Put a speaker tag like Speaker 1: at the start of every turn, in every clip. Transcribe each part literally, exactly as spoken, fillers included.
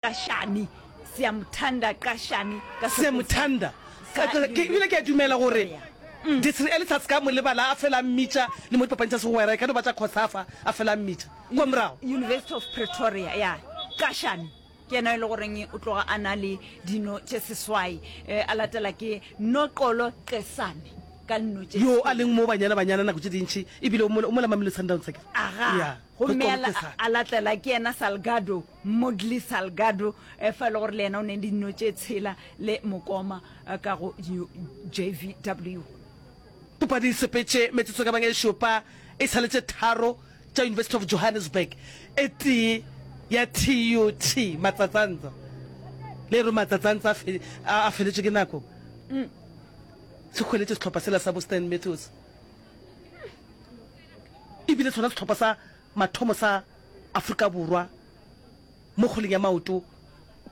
Speaker 1: Qashani, Siyamthanda Qashani ka
Speaker 2: Siyamthanda. Ke ebile ke a dumela gore Desiree Ellis a se ka mo lebala, a fela a mmitša le mo dipapading tša segwera, e ka no ba tša COSAFA, a fela a mmitša kua morago.
Speaker 1: University of Pretoria, ya. Qashani ke yena e le goreng o tloga a na le dino tše seswai, a latela ke Noxolo Qesane ka dino tše
Speaker 2: Yo a leng mo Banyana Banyana nako tše dintši, ebile o mola Mamelodi Sundowns akere?
Speaker 1: Aga,
Speaker 2: Ya,
Speaker 1: gomme
Speaker 2: Noxolo Qesane.
Speaker 1: a latela ke yena Salgado Modly Salgado, fa e le gore le yena o ne dino tše tshela le mokoma ka go J V W.
Speaker 2: Papadi e sepetše metsotso ka bang e šupa, e sa le tše tharo tša University of Johannesburg, e tee ya T U T. Matsatsantsa le re Matsatsantsa a a feletšwe ke nako. Se hweletše sehlopha sela sa bo Stan Matthews. E bile sona sehlopha sa mathomo sa Afrika Borwa mo kgweleng ya maoto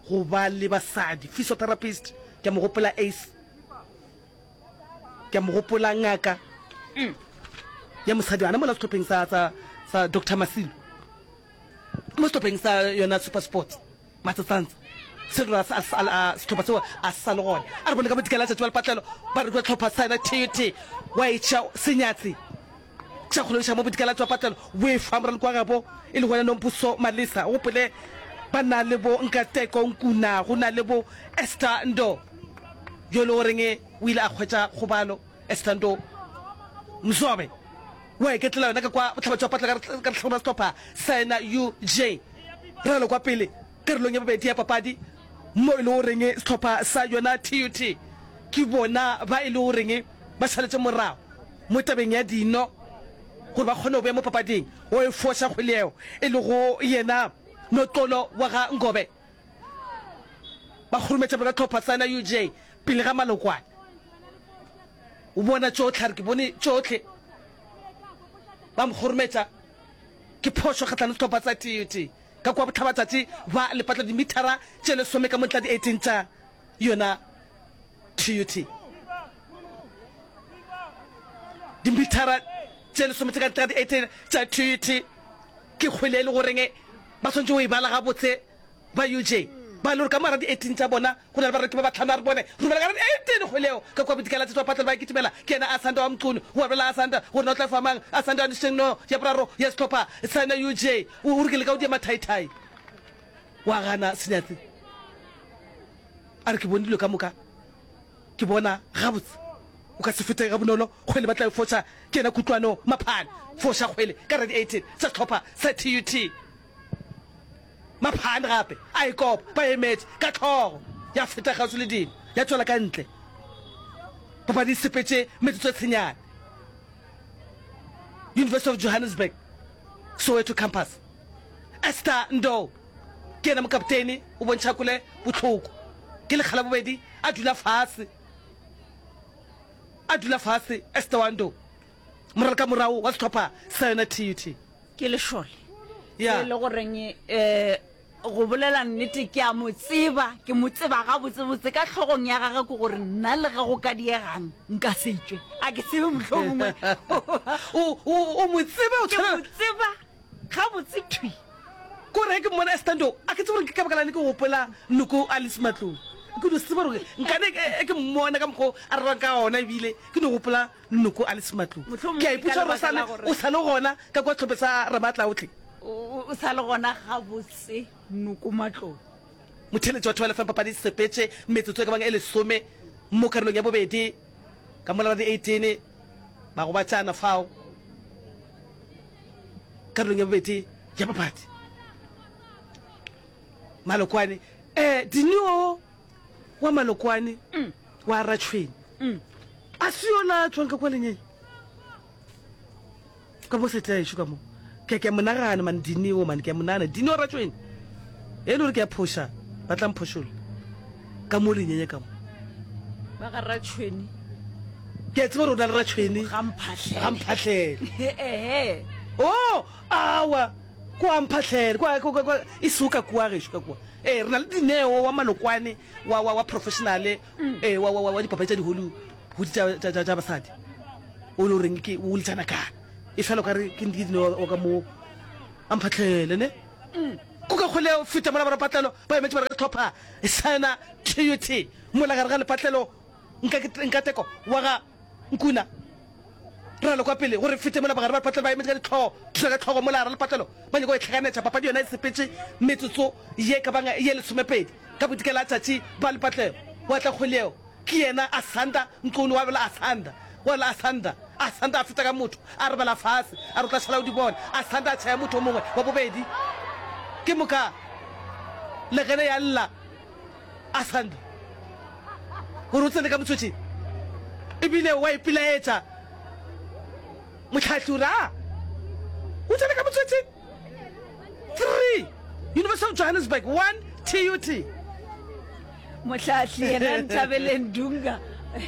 Speaker 2: go ba le basadi. Physiotherapist, ke a mo gopola Ace, ke a mo gopola ngaka ya mosadi ana mola sehlopheng sa, sa, sa Doctor Masilo, mo sehlopheng sa yona Super Sports Matsatsantsa. Se re sehlopha seo a se sa le gona. A re bone ka bodikela tšatši ba lepatlelo ba re hlopha sa yona T U T wa etša senyatsi tša kgolodiša mo bodikela tšwa patlelo o e fa moraloki wa gabo e le gona Nompuso Malisa. O gopole ba na le bo Nkateko Nkuna, go na le bo Esther Ndo yo e le goreng o ile a hwetša kgobalo. Esther Ndo Mzobe wa iketlela yona ka kwa bohlaba tšwa patlelo ka lehlakore la sehlopha sa yena U J. Ralo kwa pele karolong ya bobedi ya papadi mo e le goreng sehlopha sa yona T U T ke bona ba e le goreng ba šaletše morago mo tabeng ya dino gore ba kgone go beya mo papading o e foša kgwele yeo e lego yena Noxolo wa ga Ngobe ba khurumetša ka tlhopha sa yena U J pele ga malokwane. O bona tšohle, a re ke bone tšohle. Ba mo khurumetša ke phošo kgahlano sehlopha sa T U T ka kua bohlabatšatši ba lepatla dimithara tše lesome ka mo ntla di eighteen tša yona T U T. Dimithara tše lesome tše ka ntle ga di eighteen tša T U T ke kgwele e le goreng ba swanetše go e bala gabotse ba U J ba le gore ka mogara di eighteen tša bona go na le bareki ba bahlano. A re bone romela ka re eighteen kgwele eo ka kua bodikela tša patlelo ba e kitimela ke yena Asanda wa Mchunu o abela Asanda gore na o tla fa mang. Asanda wa Nisheng no ya boraro ya sehlopha sa yona U J o re ke leka go dia mathaithai wa gana senyatsi a re ke bone dilo ka moka ke bona gabotse o ka se fete ga bonolo. Kgwele ba tla e foša ke yena Kutlwano Maphane foša kgwele ka re di eighteen sa sehlopha sa T U T. Maphane gape a e kopa ba emetše ka hlogo ya feta kgauswi le dino ya tšwela ka ntle. Papadi e sepetše metsotso e tshenyane. University of Johannesburg Soweto Campus. Esther Ndou ke yena mokaptene o bontšha kwele bohloko ke lekga la bobedi a dula fase a dula fase Esther wa Ndou moralokamorago wa sehlopha sa yona T U T.
Speaker 1: Ke lešole e le goreng um go bolela nnete ke a mo tseba, ke mo tseba gabotsebotse ka hlogong ya gage ke gore nna le ge go ka diegang nka se tšwe. A ke tsebe mohlomongwe.
Speaker 2: O, o, o mo tseba o
Speaker 1: Ke
Speaker 2: tshwana
Speaker 1: mo tseba gabotse thwi.
Speaker 2: Kore ge ke mmona Esther Ndou, a ke tsebe gore ke ka baka la'ng ke gopola Noko Alice Matlou. Ke no se tsebe gore nkane e ke mmona ka mokgwa o a rerang ka gona ebile ke no gopola Noko Alice Matlou.
Speaker 1: Mohlomongwe
Speaker 2: Ke a
Speaker 1: ke ka
Speaker 2: ipotša gore o
Speaker 1: lebaka
Speaker 2: sa
Speaker 1: la
Speaker 2: le
Speaker 1: gore
Speaker 2: o sa le gona ka kwa sehlophe sa Ramaatlaohle.
Speaker 1: o o sa le gona gabotse Noko Matlou.
Speaker 2: Motheeletši wa Thobela F M papadi e sepetše metsotso e ka bang e lesome mo karolong ya bobedi ka mola ra di eighteen ba gobatšana fao karolong ya bobedi ya papadi. Malokwane eh Dineo wa Malokwane wa Ratšhweni a se yola tšwang ka kwa lenyeng ka mo setla ešo ka mo ke ke monagana man Dineo man ke monagana Dineo Ratšhweni e le gore ke a phoša ba tla mphošolla ka mo lenyenye ka mo
Speaker 1: Ba ga Ratšhweni.
Speaker 2: Ke a tseba gore o na le Ratšhweni
Speaker 1: Ga Mphahlele.
Speaker 2: Ga Mphahlele.
Speaker 1: Ehe.
Speaker 2: Oh, awa kwa Mphahlele kwa kwa kwa e se ka kua gešo ka kua. Ee, re na le Dineo wa Malokwane wa wa wa professional ee wa wa wa dipapadi tša di Hollywood tša tša tša basadi. O le goreng ke o letšana kana. E fela o ka re ke Dineo wa ka mo a Mphahlele ne. Kuka kgwele ya go feta mola barapatlelo ba emetše ba re ka sehlopha sa yona T U T mola gare ga lepatlelo Nkateko wa ga Nkuna ralo kwa pele gore fete mola bagare ba lepatlelo ba emetše ka dihlogo thuša ka hlogo mola gare lepatlelo ba nyaka go e hlakanetša. Papadi yona e sepetše metsotso ye ka bang ye lesomepedi ka bodikela tšatši ba lepatlelo wa tla kgwele yeo ke yena Asanda Nqunu wa bela Asanda wa bela Asanda Asanda a feta ka motho a robala fase a re o tla šala o di bona Asanda a tšhaya motho o mongwe wa bobedi ke moka legene ya lla Asanda gore o tsene ka motswetšing ebile wa ipilaetša mohlahli o re a o tsene ka motswetšing three University of Johannesburg one T U T.
Speaker 1: Mohlahli yena Nthabeleng Dunga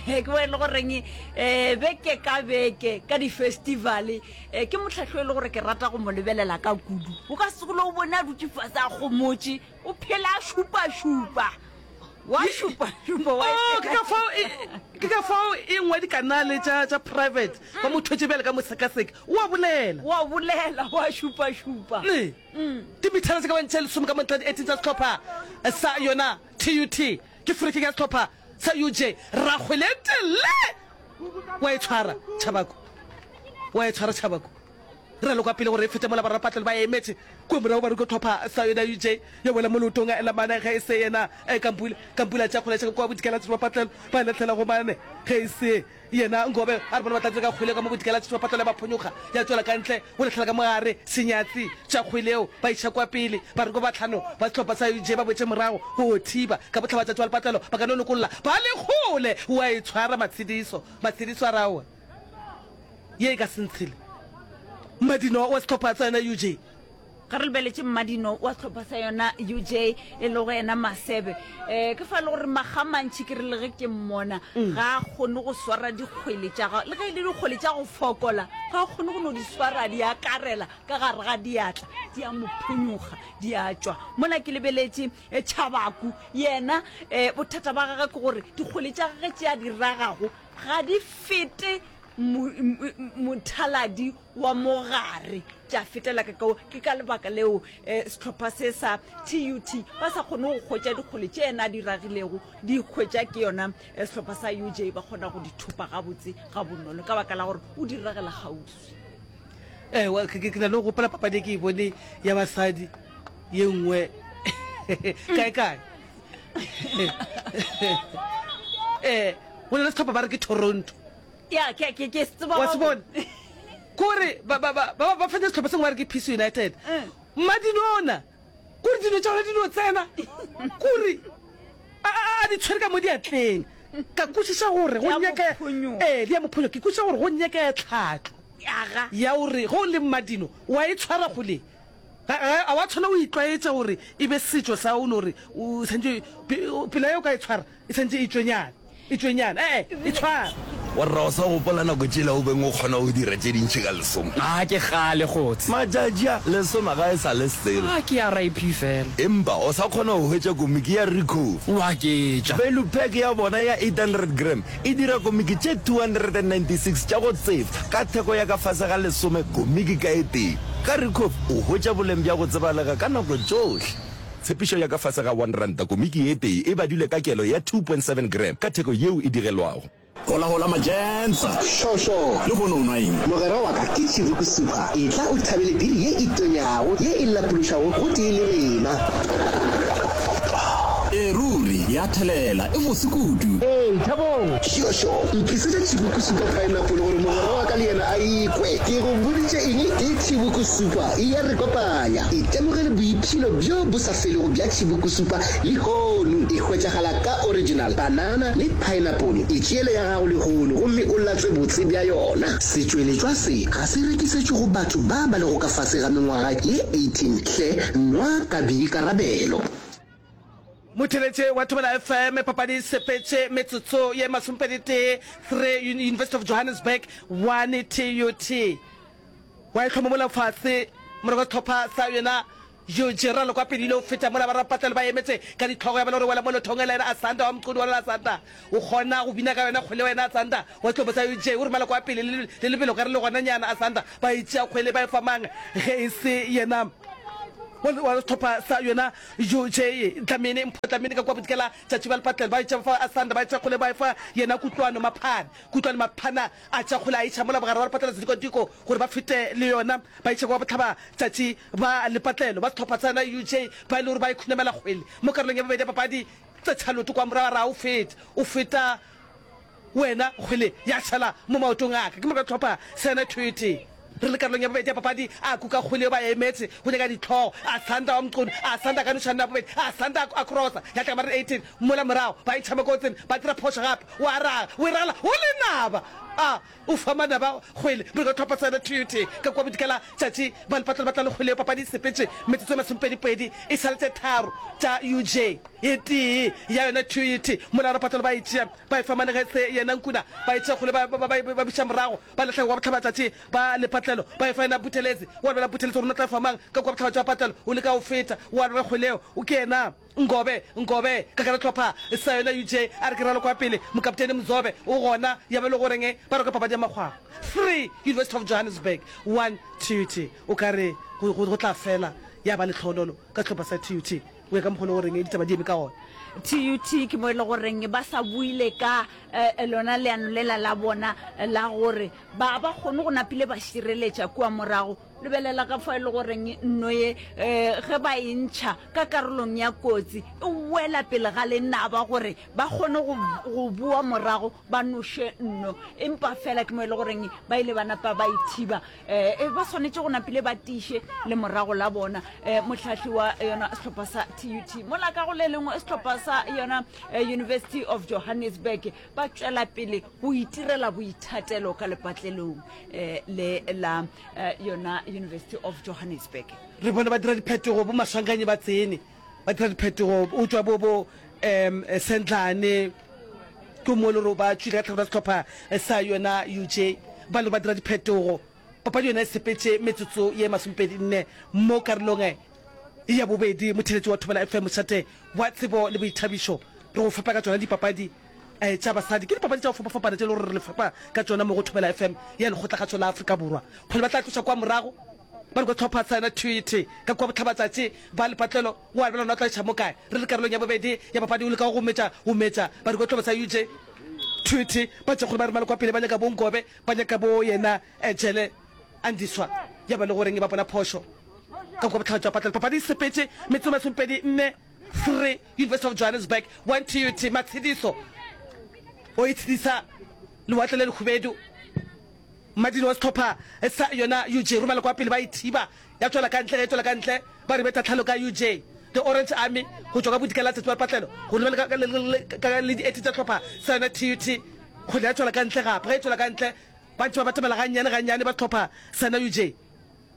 Speaker 1: ke bo e le goreng um beke ka beke ka di-festival um ke mohlahli o e le gore ke rata go mo lebelela ka kudu. O ka se gole o bone a dutše fase a gomotše, o phela a šupašupa. Wa šupašupa wa
Speaker 2: Oh, ke ka fao e, ke ka fao e nngwe dikanale tša tša private ba mo thwetše bjale ka mosekaseki. O a bolela.
Speaker 1: Wa bolela, wa šupašupa.
Speaker 2: Ne. Dimithara tše ka bang tše lesome ka montle di eighteen tša sehlopha sa yona T U T ke free kick ya sehlopha sa U J. Rakgwele tele wa e tshwara Tšhabako, wa e tshwara Tšhabako. Raloka pele gore e fete mola bararapatlelo ba emetše kua morago ba re ko hlopha sa yona U J ya wela mo leotong la mane ge e se yena Kampula. Kampula a tšea kgwele ya tšhaka kua bodikela tšhitšhibapatlelo ba e lahlela go mane ge e se yena Ngobe a re bona ba tla dira ka kgwele ka mo bodikela tšhitšhibapatlelo ya ba phonyokga ya tšwela ka ntle go lahlela ka mogare Senyatsi tša kgwele yeo ba iša kua pele ba re ko bahlano ba sehlopha sa U J ba boetše morago go thiba ka bohlabatšatši ba lepatlelo ba ka no lokolla ba le kgole wa e tshwara Matshediso Matshediso a re aowa ye e ka se ntshele Mmadino wa sehlopha sa yona U J.
Speaker 1: Ge re lebeletše Mmadino wa sehlopha sa yona U J e lego yena Masebe, um ke fa e le gore makga a mantši ke re le ge ke mmona ga a kgone go swara dikgwele tša gagwe, le ge e le dikgwele tša go fokola ga a kgone go no di swara di akarela ka gare ga diatla, di a mo phonyokga di a tšwa. Mola ke lebeletše Tšhabaku yena um bothata ba gagwe ke gore dikgwele tša gagwe tše a di ragago ga di fete mothaladi wa mogare tša fetela ka kao. Ke ka lebaka leo sehlopha se sa T U T ba sa kgone go hwetša dikgole tše yena a di ragilego, di hwetša ke yona sehlopha sa U J, ba kgona go di thopa gabotse gabonolo ka baka la gore o di ragela kgauswi.
Speaker 2: Ewa, ke na le go gopola papadi e ke e bone ya basadi ye nngwe kae kae. Eh, go na le sehlopha ba re ke Toronto.
Speaker 1: Ya, ke ke ke se tseba.
Speaker 2: Wa se bona? Kore ba ba ba ba ba fenya sehlopha se sengwe ba re ke Peace United. Mmadinona, kore dino tša gona di no tsena. Kore a a a di tshwere ka mo diatleng. Ka kwešiša gore go nyaka ee, di a mo phonyoga. Ke kwešiša gore go nyakega tlhahlo ya gore ge o le mmadino wa e tshwara kgole. Ga ga wa tshwanela go itlwaetša gore e be setšo sa o no re o santše pela ye o ka e tshwara e santše e tšwenyana e tšwenyana ee e tshwara.
Speaker 3: Warra o sa gopola nako tšela o beng o kgona go dira tše dintši ka lesome?
Speaker 4: A ke kgale kgotse.
Speaker 3: Matšatši a, lesome ga e sa le selo.
Speaker 4: A ke R I P fela.
Speaker 3: Empa o sa kgona go hwetša komiki ya Ricoh.
Speaker 4: O aketša.
Speaker 3: Value pack ya bona ya eight hundred gram e dira komiki tše two hundred and ninety six tša go tsefa ka theko ya ka fase ga lesome komiki ka e tee. Ka Ricoh o hwetša boleng bja go tsebalega ka nako tšohle. Tshepišo ya ka fase ga one ranta komiki e tee e badilwe ka kelo ya two point seven gram ka theko yeo e digelwago.
Speaker 5: Hola hola majentsa.
Speaker 6: Sho sho.
Speaker 5: Lehono o nwa eng?
Speaker 6: Mogwera wa ka ke Chibuku Super. Etla o thabele biri ye e tonyago ye e lapološago gotee le rena.
Speaker 5: Ee ruri, ya thelela, e bose kudu.
Speaker 6: Ee, Thabong. Sho sho. Ntlisetše Chibuku Super Pineapple gore mogwera wa ka le yena a ikwe. Ke go boditše eng? Ke Chibuku Super e ya re kopanya. Itemogele boipshino bjo bo sa felego bja Chibuku Super lehono. E hwetšagala ka original, banana le pineapple. Itšeele ya gago lehono gomme o latswe botse bja yona. Setšweletšwa se ga se rekisetšwe go batho ba ba lego ka fase ga mengwaga ye eighteen. Hle nwa ka boikarabelo.
Speaker 2: Motheeletše wa Thobela F M, papadi e sepetše metsotso ye masomepedi-tee, three University of Johannesburg, one T U T. Wa e hloma mola fase morago ga sehlopha sa yona Eugene Ralo kwa pele ile go feta mola barapatlelo ba emetse ka dihlogo ya bona gore wela mo lothong ela yena Asanda wa Mqunu wa lona Asanda o kgona go bina ka yona kgwele wa yena Asanda wa sehlopha sa Eugene o romela kwa pele le le lebelo ka re le gona nyana Asanda ba e tšea kgwele ba e fa mang ge e se yena Wa sehlopha sa yona U J Dlamini, Mpho Dlamini ka kua Bodikela tšatši ba lepatlelo ba etša fa Asanda ba etša kgole ba efa yena Kutlwano Maphana. Kutlwano Maphana a tša kgole a iša mola bogare wa lepatlelo sedikwadiko gore ba fete le yona ba iša kwa bohlaba tšatši ba lepatlelo. Ba sehlopha sa yona U J ba e le gore ba e khunamela kgwele mo karolong ya bobedi ya papadi. Tsetšha leoto kwa morago a re a o fete o feta wena kgwele ya šala mo maotong a ka. Ke moka hlopha sa yona Thwete. Re le karolong ya bobedi ya papadi, a kuka kgwele yo ba emetse go nyaka dihlogo. Asanda wa Mqunu, Asanda ka nošana ya bobedi, Asanda a crossa ya tla ka mareng eighteen mola morago ba intšha mo kotsing, ba dira phošo gape. O a raga, o e ragela go lenaba. A o fa manaba kgwele. Moka hlopha sa yona Thwete ka kua bodikela tšatši ba lepatlelo ba tla le kgwele yo papadi e sepetše metsotso e masomepedi-pedi e sa le tše tharo tša U J e tee ya yona Thwete mola lepatlelo ba e tšea ba e fa Manegetse yena Nkuna ba e tšea kgole ba ba ba ba buša morago ba lahla kwa bohlabatšatši ba lepatlelo ba e fa yena Buthelezi wa lwela Buthelezi gore o tla fa mang ka kua bohlabatša ba patlelo o leka go feta wa lwela kgwele eo o ke yena Ngobe Ngobe ka gare hlopha sa yona U J a re ke ralo kwa pele mokaptene Mzobe o gona ya ba le goreng ba roka papadi ya makgwakgwa three University of Johannesburg one T U T o ka re go go tla fela ya ba lehlonolo ka sehlopha sa T U T go ya ka mokgwa o le goreng ditaba di eme ka gona.
Speaker 1: T U T ke mo e le goreng ba sa buile ka lona leano lela la bona la gore ba ba kgone go napile ba šireletša kua morago. Lebelela ka fao e le goreng nno ye ge ba e ntšha ka karolong ya kotsi e wela pele ga lenaba gore ba kgone go go boa morago ba noše nno. Empa fela ke mo e le goreng ba ile ba napa ba ithiba. Um ba swanetše go napile ba tiiše le morago la bona. Um mohlahli wa yona sehlopha sa T U T mola ka go le lengwe sehlopha sa yona University of Johannesburg ba tšwela pele go itirela boithatelo ka lepatlelong um le la yona University of Johannesburg.
Speaker 2: Re bone ba dira diphetogo, bo Maswanganyi ba tsene ba dira diphetogo, o tšwa bo bo um Sendlane ke mo le gore ba tšwile ka tlhakore ya sehlopha sa yona U J ba le ba dira diphetogo. Papadi yona e sepetše metsotso ye masomepedi nne mo karolong ya bobedi. Motheeletši wa Thobela F M, mošate wa tsebo le boithabišo, re go fepa ka tšona dipapadi tša basadi. Ke dipapadi tša go fapafapana tše e le gore re le fepa ka tšona mo go Thobela F M ya Lekgotlakgašo la Afrika Borwa. Kgwele ba tla tloša kwa morago ba re kwa hlopha sa yona Thwete ka kua bohlabatšatši ba lepatlelo wa lebela ona o tla iša mo kae. Re le karolong ya bobedi ya papadi o leka go metša go metša ba re kwa hlopha sa U J Thwete ba tša kgole ba re male kwa pele ba nyaka bo Nkobe ba nyaka bo yena Jele Andiswa ya ba le goreng ba bona phošo ka kua bohlabatšatši ba patlelo. Papadi e sepetše metsotso e masomepedi nne three University of Johannesburg one T U T Matshediso o itshedisa lewatle le lekhubedu. Mmadini wa sehlopha sa yona U J romela kwa pele ba ithiba ya tšwela ka ntle ge e tšwela ka ntle ba re betha tlhalo ka U J The Orange Army go tšwa ka bodikela tšatši ba lepatlelo go lebela ka, ka, le dieti tša sehlopha sa yona T U T kgwele ya tšwela ka ntle gape ge e tšwela ka ntle ba ntše ba batamela gannyane gannyane ba sehlopha sa yona U J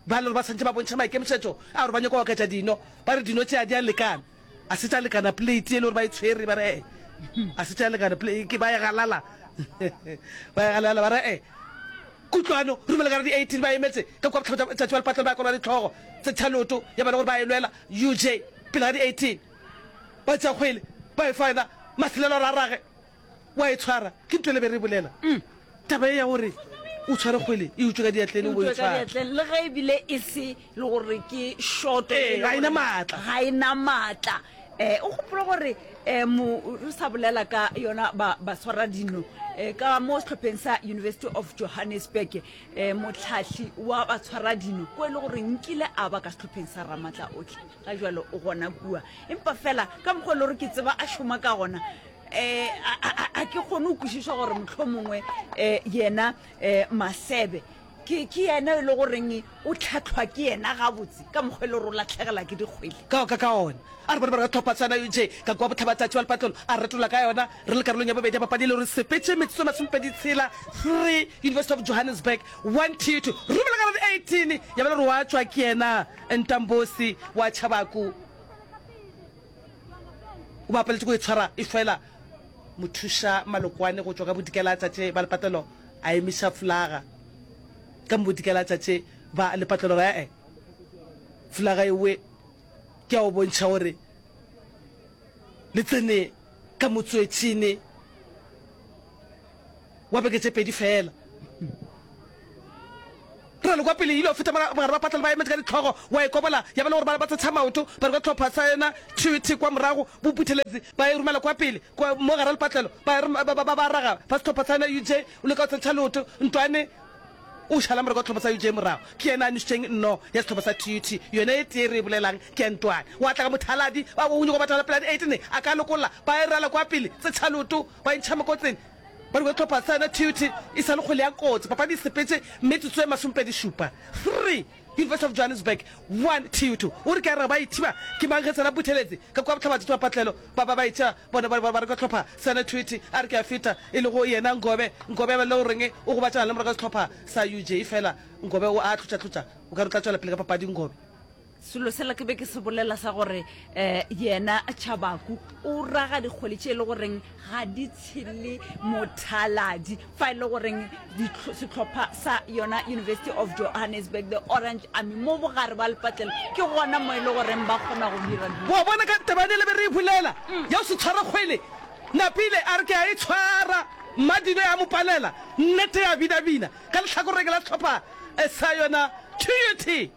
Speaker 2: ba le gore ba swantše ba bontšha maikemišetšo a gore ba nyaka go oketša dino ba re dino tše a di a lekana a se tša lekana plate e le gore ba e tshwere ba re e a se tša lekana ke ba e galala ba e galala ba re e Kutlwano romela ka di eighteen ba emetse ka kua bohlaba tšatši ba lepatlelo ba kolwa dihlogo tse tšhaloto ya bana gore ba e lwela U J pele ga di eighteen ba tšea kgwele ba e fa yena Maselelo a rage wa e tshwara ke ntho e le be re bolela taba e ya gore o tshware kgwele e utswe ka diatleng o bo e tshwara
Speaker 1: le ge ebile e se le gore ke shoto
Speaker 2: ee ga ena maatla
Speaker 1: ga ena maatla um o gopole gore um re sa bolela ka yona ba baswara dino um ka mo sehlopheng sa University of Johannesburg um motlhahli wa batshwara dino ko e le gore nkile a ba ka sehlopheng sa Ramatla otlhe ga jalo o gona kua empa fela ka mokgwa e le gore ke tseba a šoma ka gona um a ke kgone go kwešiša gore motlho mongwe um yena um Masebe ke ke yena e le goreng o tlhatlhwa ke yena gabotse ka mokgwa e le gore o latlhegela ke dikgwele
Speaker 2: ka ka ka ona a re bone ba re tlhopha sana U J ka kwa bohlabatšatši ba lepatlelo a retola ka yona re le karolong ya bobedi ya papadi e le gore sepetše metsotso e masomepedi tshela three University of Johannesburg one two two romela ka di eighteen ya ba le gore wa tšwa ke yena Ntambosi wa Tšhabaku o bapaletše go e tshwara e fela mothuša Malokwane go tšwa ka bodikela tšatši ba lepatlelo a emiša flaga ka modikela tšatši ba lepatlelo re e flaga ewe ke a o bontšha gore le tsene ka motswetšhene wa beke tše pedi fela. Re Ralo kwa pele e ile go feta mogare ba patla le ba emetše ka dihlogo, wa e kobola, ya ba le gore ba ba tshetšha maoto, ba re kwa hlopha sa yona T U T kwa morago, bo Buthelezi ba e romela kwa pele, kwa mo gare lepatlelo, ba e ba ba ba raga ba sehlopha sa yona U J o leka go tshetšha leoto, Ntwane o šala morago wa sehlopha sa U J morago, ke yena a nwešitšeng nno ya sehlopha sa T U T, yona e tee re e bolelang ke ya Ntwane, wa tla ka mothaladi, ba o nyoko batagala pele a di eight ne a ka lokolla, ba e rala kwa pele, tsetšha leoto, ba e ntšha mokotseng. Ba re sehlopha sa yona T U T e sa le kgwele ya kotsi. Papadi e sepetše metsotso e masomepedi šupa. Three, University of Johannesburg, one, T U T. O re ke a re ba ithiba ke mang ge tsena Buthelezi ka kua bohlabatšatši ba patlelo ba ba ba ithiba bona ba ba re ka hlopha sa yona T U T a re ke a feta e lego yena Ngobe Ngobe ba le goreng o gobatšana le morago ga sehlopha sa U J efela Ngobe o a hlotšahlotša o ka re o tla tšwela pele ka papadi Ngobe.
Speaker 1: Selo sela ke be ke se bolela sa gore um yena Chabaku o raga dikgwele tše e le goreng ga di tshele mothaladi fa e le goreng sehlopha sa yona University of Johannesburg, the Orange Army, mo bogare ba lepatlelo ke gona mo e le goreng ba kgona go dira dilo.
Speaker 2: Wa bona ka taba yane le be re e bolela ya go se tshware kgwele, Napile a re ke a e tshwara, Mmadino ya mo palela, nnete ya binabina ka lehlakoreng la sehlopha sa yona T U T.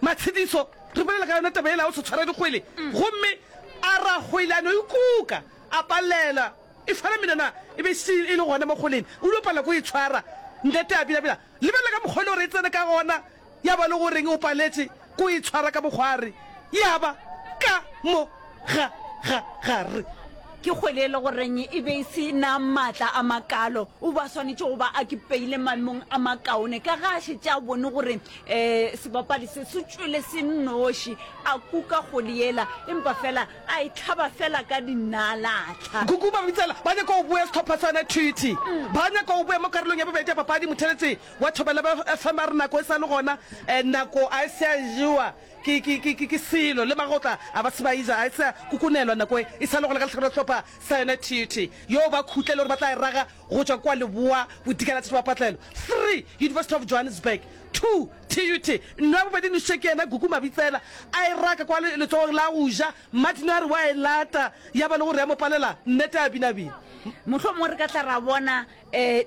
Speaker 2: Matshediso, re bolela ka yona taba yela ya go se tshwara dikgwele, gomme a ra kgwele a no e kuka, a palela. E fela menwana e be e šetše e le gona mo kgweleng, o ile palela ke go e tshwara. Nnete a binabina. Lebelela ka mokgwa e le gore e tsene ka gona, ya ba le goreng o paletše ke go e tshwara ka mokgwari, ya ba ka mo ga ga gare.
Speaker 1: Ke kgwele e le goreng e be e se na maatla a makalo. O be a swanetše go ba a kipeile maemong a makaone ka ge a šetše a bone gore um sebapadi se se tšwele se nnoši. A kuka kgwele yela empa fela a e hlaba fela ka dinalatlha.
Speaker 2: Gugu ba bitsela ba nyaka go boya sehlopha sa yona T U T. Ba nyaka go boya mo karolong ya bobedi ya papadi. Motheeletši wa Thobela F M a re nako e sa le gona, nako a e se ya jewa. Ke, ke, ke, ke, ke selo. Le magotla a ba se ba eja, a e se a kokonelwa nako e, e sa le gona ka lehlakore la sehlopha sa yona T U T. Yo ba khutle le gore ba tla e raga go tšwa kua leboa bodikela tša patlelo. Three, University of Johannesburg. Two, T U T. Nno ya bobedi nošitše ke yena Gugu Mabitsela, a e raka kwa le, letsogong la go ja. Martin a re wa e lata, ya ba le gore ya mo palela, nnete a binabina.
Speaker 1: Mohlomongwe re ka tla ra bona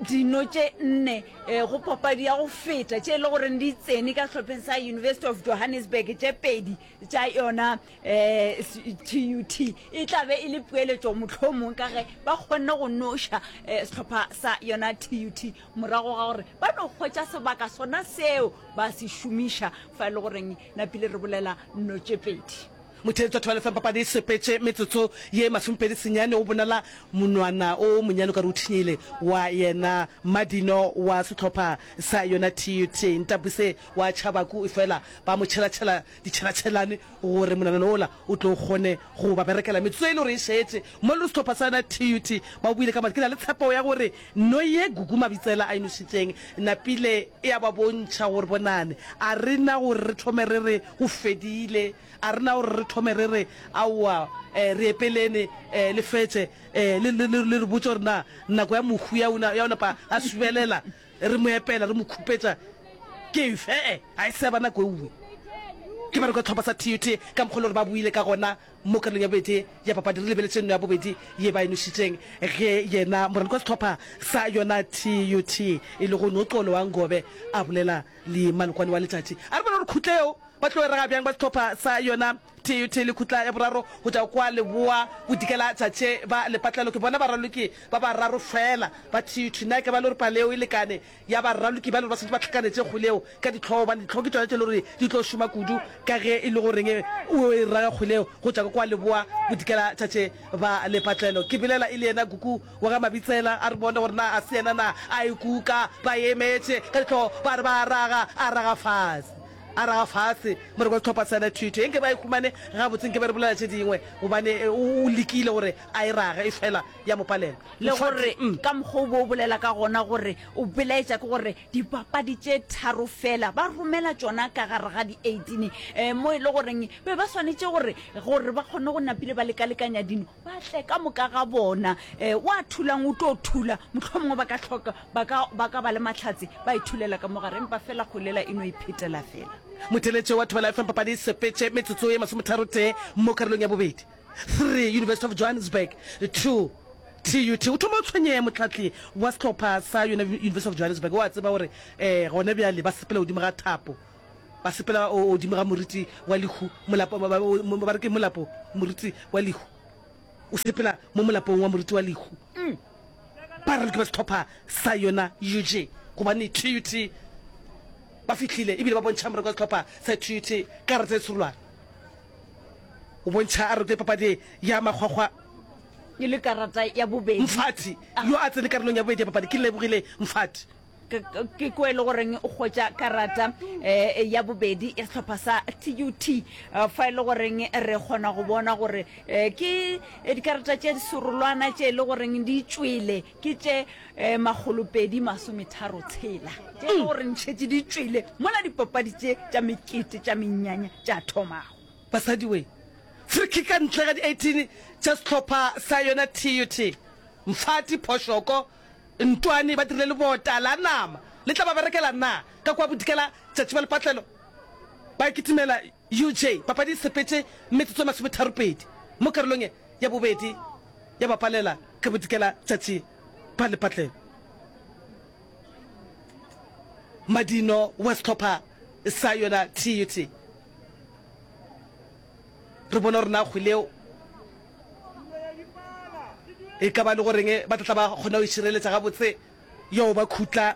Speaker 1: dino tše nne go papadi ya go feta tše e le goreng di tsene ka sehlopheng sa University of Johannesburg, tše pedi tša yona T U T e tla be e le poeletšo mohlomong ka ge ba kgonne go noša sehlopha sa yona T U T morago ga gore ba no hwetša sebaka sona seo ba se šomiša fa e le goreng napile re bolela nno tše pedi.
Speaker 2: Motheetši wa Thobela F M papadi e sepetše metsotso ye masomepedi senyane o bonala monwana o monyane o ka re o thinyile wa yena Madino wa sehlopha sa yona T U T Ntabuse wa Chabaku efela ba mo tšhelatšhela ditšhelatšhelane gore monwanana wola o tlo kgone go ba berekela metsotso e le gore e šetše mo le sehlopha sa yona T U T ba boile ka matla. Ke na le tshepo ya gore no ye Gugu Mabitsela a e nošitšeng napile e a ba bontšha gore bonane a re na gore re thome re re go fedile. A re na gore re thome re re, Aowa, re epelene, le fetše, le, le, le re botše gore na nako ya mohu ya, ya go napa a subelela, re mo epela, re mo khupetša, ke efe? E-e, ga e se ya ba nako eue. Ke ba re kwa sehlopha sa T U T ka mokgwa e le gore ba boile ka gona mo karolong ya bobedi ya papadi. Re lebeletše nno ya bobedi ye ba e nošitšeng ge yena moraloki wa sehlopha sa yona T U T e lego Noxolo wa Ngobe a bolela le malokwane wa letšatši. A re bone gore khutla yeo Ba tlo e raga bjang ba sehlopha sa yona T U T le khutla ya boraro go tšwa kwa leboa bodikela tšatše ba lepatlelo? Ke bona baraloki ba bararo feela ba T U T. Na e ka ba le gore palo yeo e lekane ya baraloki ba le gore ba swanetše ba hlakanetše kgwele yeo ka dihlogo? Gobane dihlogo ke tšona tše le gore di tlo šoma kudu ka ge e le goreng o e raga kgwele yeo go tšwa kwa leboa bodikela tšatše ba lepatlelo. Ke bolela e le yena Kuku wa ga Mabitsela, a re bone gore na a se yena na a e kuka. Ba emetše ka dihlogo ba re ba a raga, a raga fase. A raga fase moreko wa sehlopha sa Thuto. Nke ba e humane gabotse, nke be re bolela tše dingwe, gobane o lekile gore a e rage, efela ya mo palela.
Speaker 1: Le gore ka mokgwa o be o bolela ka gona gore o belaetša ke gore dipapadi tše tharo fela ba romela tšona ka gare ga di eighteen mo e le goreng be ba swanetše gore gore ba kgone go napile ba lekalekanya dino ba tle ka moka ga bona. Wa thulang o tlo thula, mohlomongwe ba ka hloka Ba ka, ba ka ba le mahlatse, ba ithulela ka mo gare, empa feela kgwele yela e no iphetela feela.
Speaker 2: Motheeletši wa Thobela F M papadi e sepetše metsotso ye masometharo tee mo karolong ya bobedi. Three, University of Johannesburg, two, TUT. O thoma o tshwenyega mohlahli wa sehlopha sa yona University of Johannesburg. O a tseba gore um gona bjale ba sepela godimo ga thapo, ba sepela godimo ga moriti wa lehu, molapo, ba re ke molapo, moriti wa lehu. O sepela mo molapong wa moriti wa lehu. Ba raloki ba sehlopha sa yona U J gobane T U T ba fihlile ebile ba bontšha moreko wa sehlopha sa T U T karata e tsholwana. O bontšha a rokile papadi ya makgwakgwa.
Speaker 1: E le karata ya bobedi.
Speaker 2: Mfati yo a tsene karolong ya bobedi ya papadi ke Lebogile Mfati.
Speaker 1: Ke ko e le goreng o hwetša karata eh, ya bobedi ya sehlopha sa T U T, eh, fa e le goreng re kgona go bona gore eh, ke dikarata tše serolwana tše e le goreng di tšwele ke tše eh, makgolopedi masometharo tshela tše e le goreng šetše di tšwele mola dipapadi tše tša mekete tša menyanya tša thomago.
Speaker 2: Basadi we! Free kick ka ntle ga di eighteen tša sehlopha sa yona T U T. Mfati, Phošoko, Ntwane ba dirile lebota la nama le tla ba berekela na ka kua bodikela tšatši ba lepatlelo ba kitimela U J. Papadi e sepetše metsotso e masometharopedi mo karolong ya bobedi ya bapalela ka bodikela tšatši ba lepatlelo. Madino wa sehlopha sa yona T U T. Re bona gore na kgwele yeo e ka ba le goreng ba tla tla ba kgona go išireletša gabotse yo ba khutla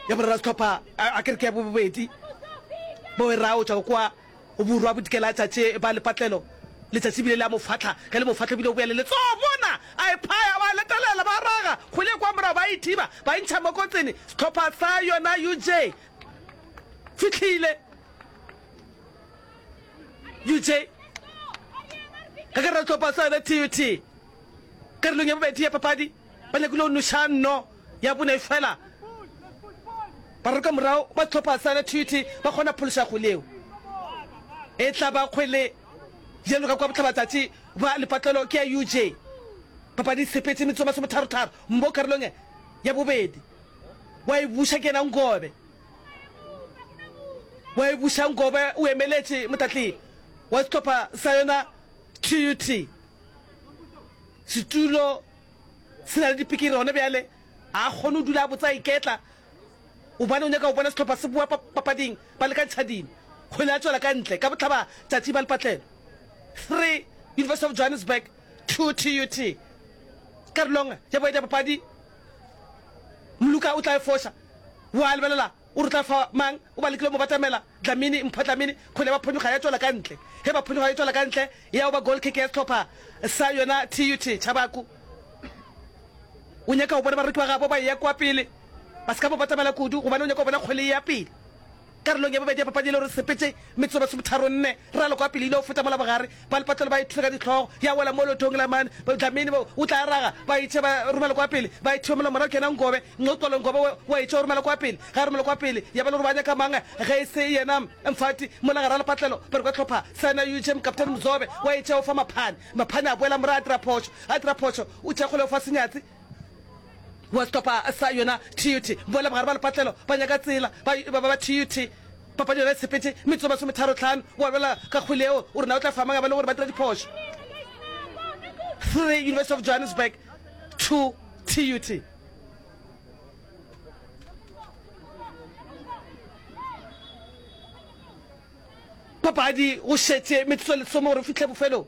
Speaker 2: ya borara sehlopha a ke re ke ya bobedi bo e raya o tšwa kwa borwa bodikela tšatši ba lepatlelo letšatši bile le a mo fahla ge le mo fahla bile o boya le letsogo mona a e phaya ba letelela ba raga kgwele kwa morago ba ithiba ba intšha mo kotsini sehlopha sa yona U J fihlile U J ka gare ga sehlopha sa yona T U T karolong ya bobedi ya papadi ba nyakile go noša nno ya bone fela ba roka morago ba sehlopha sa yona T U T ba kgona phološa kgwele yeo e tla ba kgwele bjalo ka kwa bohlabatsatši ba lepatlelo ke ya U J. Papadi e sepetše metsotso masometharo-tharo mo karolong ya bobedi wa e buša ke yena Ngobe wa e buša Ngobe o emeletše motatli wa sehlopha sa yona T U T. Setulo se na le dipikiri gona bjale a kgone go dula a botsa a iketla gobane o nyaka go bona sehlopha se boa papading ba lekantšha dino. Kgwele ya tšwela ka ntle ka bohlaba tšatši ba lepatlelo. Three University of Johannesburg, two T U T. Karolong ya bobedi ya papadi Moluka o tla e foša wa lebelela o re tla fa mang o ba lekile mo batamela Dlamini Mpho Dlamini kgwele ya ba phonyokga ya tšwela ka ntle ge ba phonyokga ya tšwela ka ntle ya ba goal kick ya sehlopha sa yona T U T. Chabaku o nyaka go bona bareki ba gabo ba eya kwa pele ba se ka mo batamela kudu gobane o nyaka go bona kgwele e ya pele karolong ya bobedi ya papadi e le gore sepetše metsotso masometharo nne ralo kwa pele ile go feta mola bogare ba lepatlelo ba ithula ka dihlogo ya wela mo lotong la mane Dlamini o tla raga ba itše ba romela kwa pele ba ithiba mola morago ke yena Ngobe Nxolo Ngobe wa itše o romela kwa pele ga romela kwa pele ya ba le gore ba nyaka mang ge e se yena Mfati mola gare ga lepatlelo ba re kwa hlopha sa yena U J Captain Mzobe wa itše o fa Maphane Maphane a boela morago a dira phošo a dira phošo o tšea kgole o fa Senyatsi wa sehlopha sa yona T U T. Boela bogare ba lepatlelo ba nyaka tsela ba ba ba T U T. Papadi yona e sepetše metsotso masometharo hlano wa lwela ka kgwele yeo o re na o tla fa mang ba le gore ba dira diphošo. Three University of Johannesburg, two T U T. Papadi go šetše metsotso lesome gore o fihle bofelong.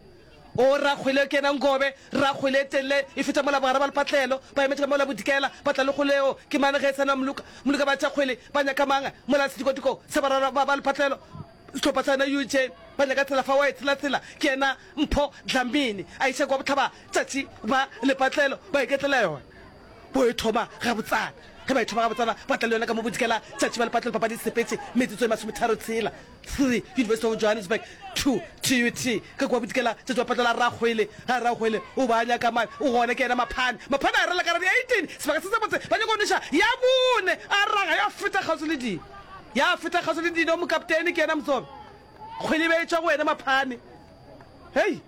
Speaker 2: O rakgwele ke yena Ngobe, rakgwele e telele e feta mola bogare ba lepatlelo, ba emetše ka mola bodikela, ba tla le kgwele yeo ke mane ge e sa na Moluka, Moluka ba tša kgwele ba nyaka mang mola sedikwadiko sa barara ba ba lepatlelo, sehlopha sa yona U J ba nyaka tsela fa wa e tshela tsela ke yena Mpho Dlamini a iša kwa bohlaba tšatši ba lepatlelo ba iketlela yona. Bo e thoma gabotsana. Ge ba e thoma gabotsana, ba tla le yona ka mo bodikela tšatši ba lepatlelo papadi e sepetše metsotso e masometharo tshela. Three, University of Johannesburg, two, T U T. Ka kua bodikela tšatši ba patlela Rakgwele. Ga Rakgwele o ba nyaka mane, o gona ke yena Maphane. Maphane a rela ka radi eighteen, sebaka se sebotse, ba nyaka go nweša ya bone, a raga ya feta kgauswi le dino. Ya feta kgauswi le dino, mokaptene ke yena Motsobe. Kgwele e be e tšwa go yena Maphane. Hei!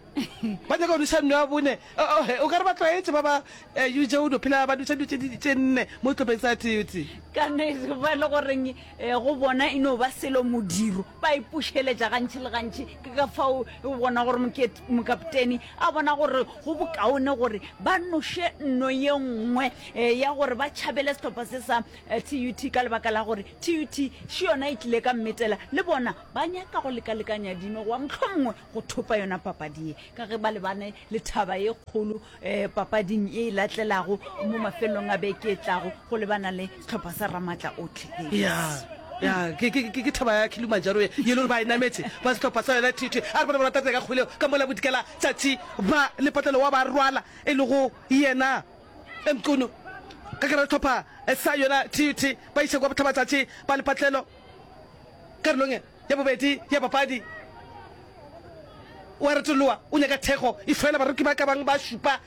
Speaker 2: Ba nyaka go nweša nno ya bone. O ka re ba tlwaetše ba ba U J o no phela ba nweša dilo tše tše nne mo sehlopheng sa T U T.
Speaker 1: Ka nnete ba e le goreng go bona e no ba selo modiro, ba ipušeletša gantši le gantši. Ke ka fao o bona gore mokapteni a bona gore go bokaone gore ba noše nno ye nngwe ya gore ba tšhabele sehlopha se sa T U T ka lebaka la gore T U T še yona e tlile ka mmetela le bona ba nyaka go lekalekanya dino goba mohlomongwe go thopa yona papadi ye ka ge ba lebane le thaba ye kgolo um papading ye e latlelago mo mafelelong a beke e tlago go lebana le sehlopha sa Ramatla Otlhe
Speaker 2: Ya, ya, ke, ke, ke, ke thaba ya Kilimanjaro ye, ye le gore ba e nametše, ba sehlopha sa yona T T. A re bone ba rata ka kgwele ka mola bodikela tšatši ba lepatlelo wa ba rwala, e lego yena Mqunu. Ka gare sehlopha sa yona T T ba iša kwa bohlabatšatši ba lepatlelo karolong ya bobedi ya papadi. O a retoloa, o nyaka thekgo, efela bareki ba ka bang ba šupa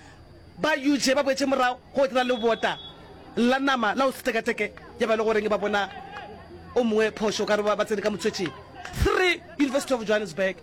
Speaker 2: ba U J ba boetše morago go dira lebota la nama la go se tekateke ya ba le goreng ba bona o mongwe phošo ka re ba tsene ka motswetšing. Three University of Johannesburg,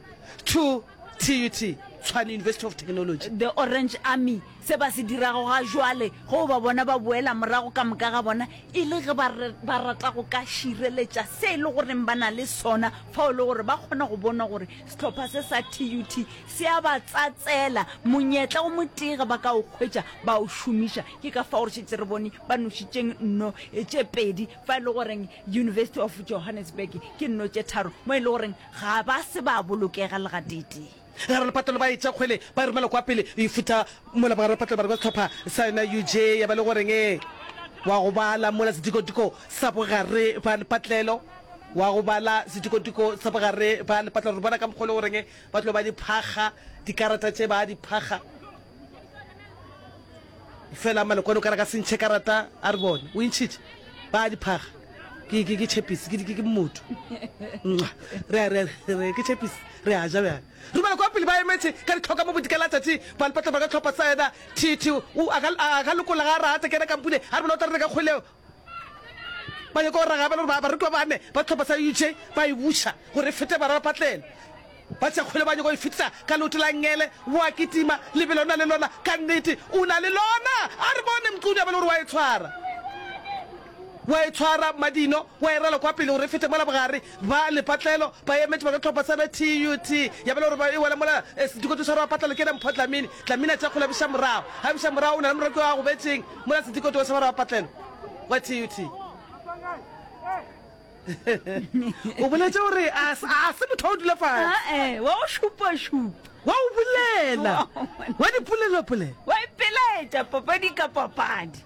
Speaker 2: two T U T, Tshwane University of Technology.
Speaker 1: The Orange Army, se ba se dirago ga jwale, ge o ba bona ba boela morago ka moka ga bona, e le ge ba, ba rata go ka šireletša se e le goreng ba na le sona fao le gore ba kgona go bona gore sehlopha se sa T U T se a ba tsatsela. Monyetla o motee ge ba ka o hwetša, ba o šomiša. Ke ka fao re šetše re bone ba nošitšeng nno tše pedi, fa e le goreng University of Johannesburg ke nno tše tharo, mo e le goreng ga ba se ba bolokega le gateetee.
Speaker 2: Gare lepatlelo ba etša kgwele ba e romela kwa pele e futha mola bogare lepatlelo ba re kwa sehlopha sa yona U J ya ba le goreng e wa go bala mola sedikodiko sa bogare ba lepatlelo wa go bala sedikodiko sa bogare ba lepatlelo re bona ka mokgwa le goreng ba tlo ba di phakga dikarata tše ba di phakga Fela Malokwane o ka re ka se ntšhe karata a re bone o e ntšhitše ba di phaga ke ke ke chepisi ke ke ke mmoto re a re re ke chepisi re a ja bjale re kwa pele ba emetše ka ditlhoka mo bodikela tšatši ba lepatla ba ka tlhopha sa yena T T o a ka a ka lokolla ga a rate kena kampune a re bona o tla re ka kgwele ba nyaka go raga ba le gore bareki ba bane ba tlhopha sa U J ba e buša gore e fete bara ba patlelo Ba tšea kgwele ba nyaka go e fetisa ka leoto la nngele. O a kitima, lebelo o na le lona, ka nnete o na le lona. A re bone Mqunu a be le gore wa e tshwara. Wa e tshwara Madino, wa e rala kwa pele gore e fete mola bogare. Ba lepatlelo ba emetše ba ka hlopha sa T U T. Ya ba le gore ba e wela mola Sedikoto sa Rapatlelo ke yena Mpho Dlamini. Dlamini a tšea kgwele a buša morago. Ga a buša morago o na le moreki yo a gobetšeng mola Sedikoto sa Rapatlelo wa T U T. O boletše gore a se motho wa go dula
Speaker 1: fase. Ee, wa go šupašupa.
Speaker 2: Wa go bolela, wa dipolelopolelo.
Speaker 1: Wa ipelaetša papadi ka papadi.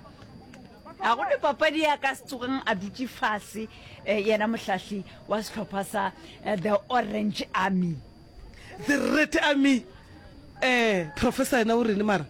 Speaker 1: Ga go ne papadi ya ka se tsogeng a dutše fase yena mohlahli wa sehlopha sa The Orange Army.
Speaker 2: The Red Army. Eh, professor yena o rene mara?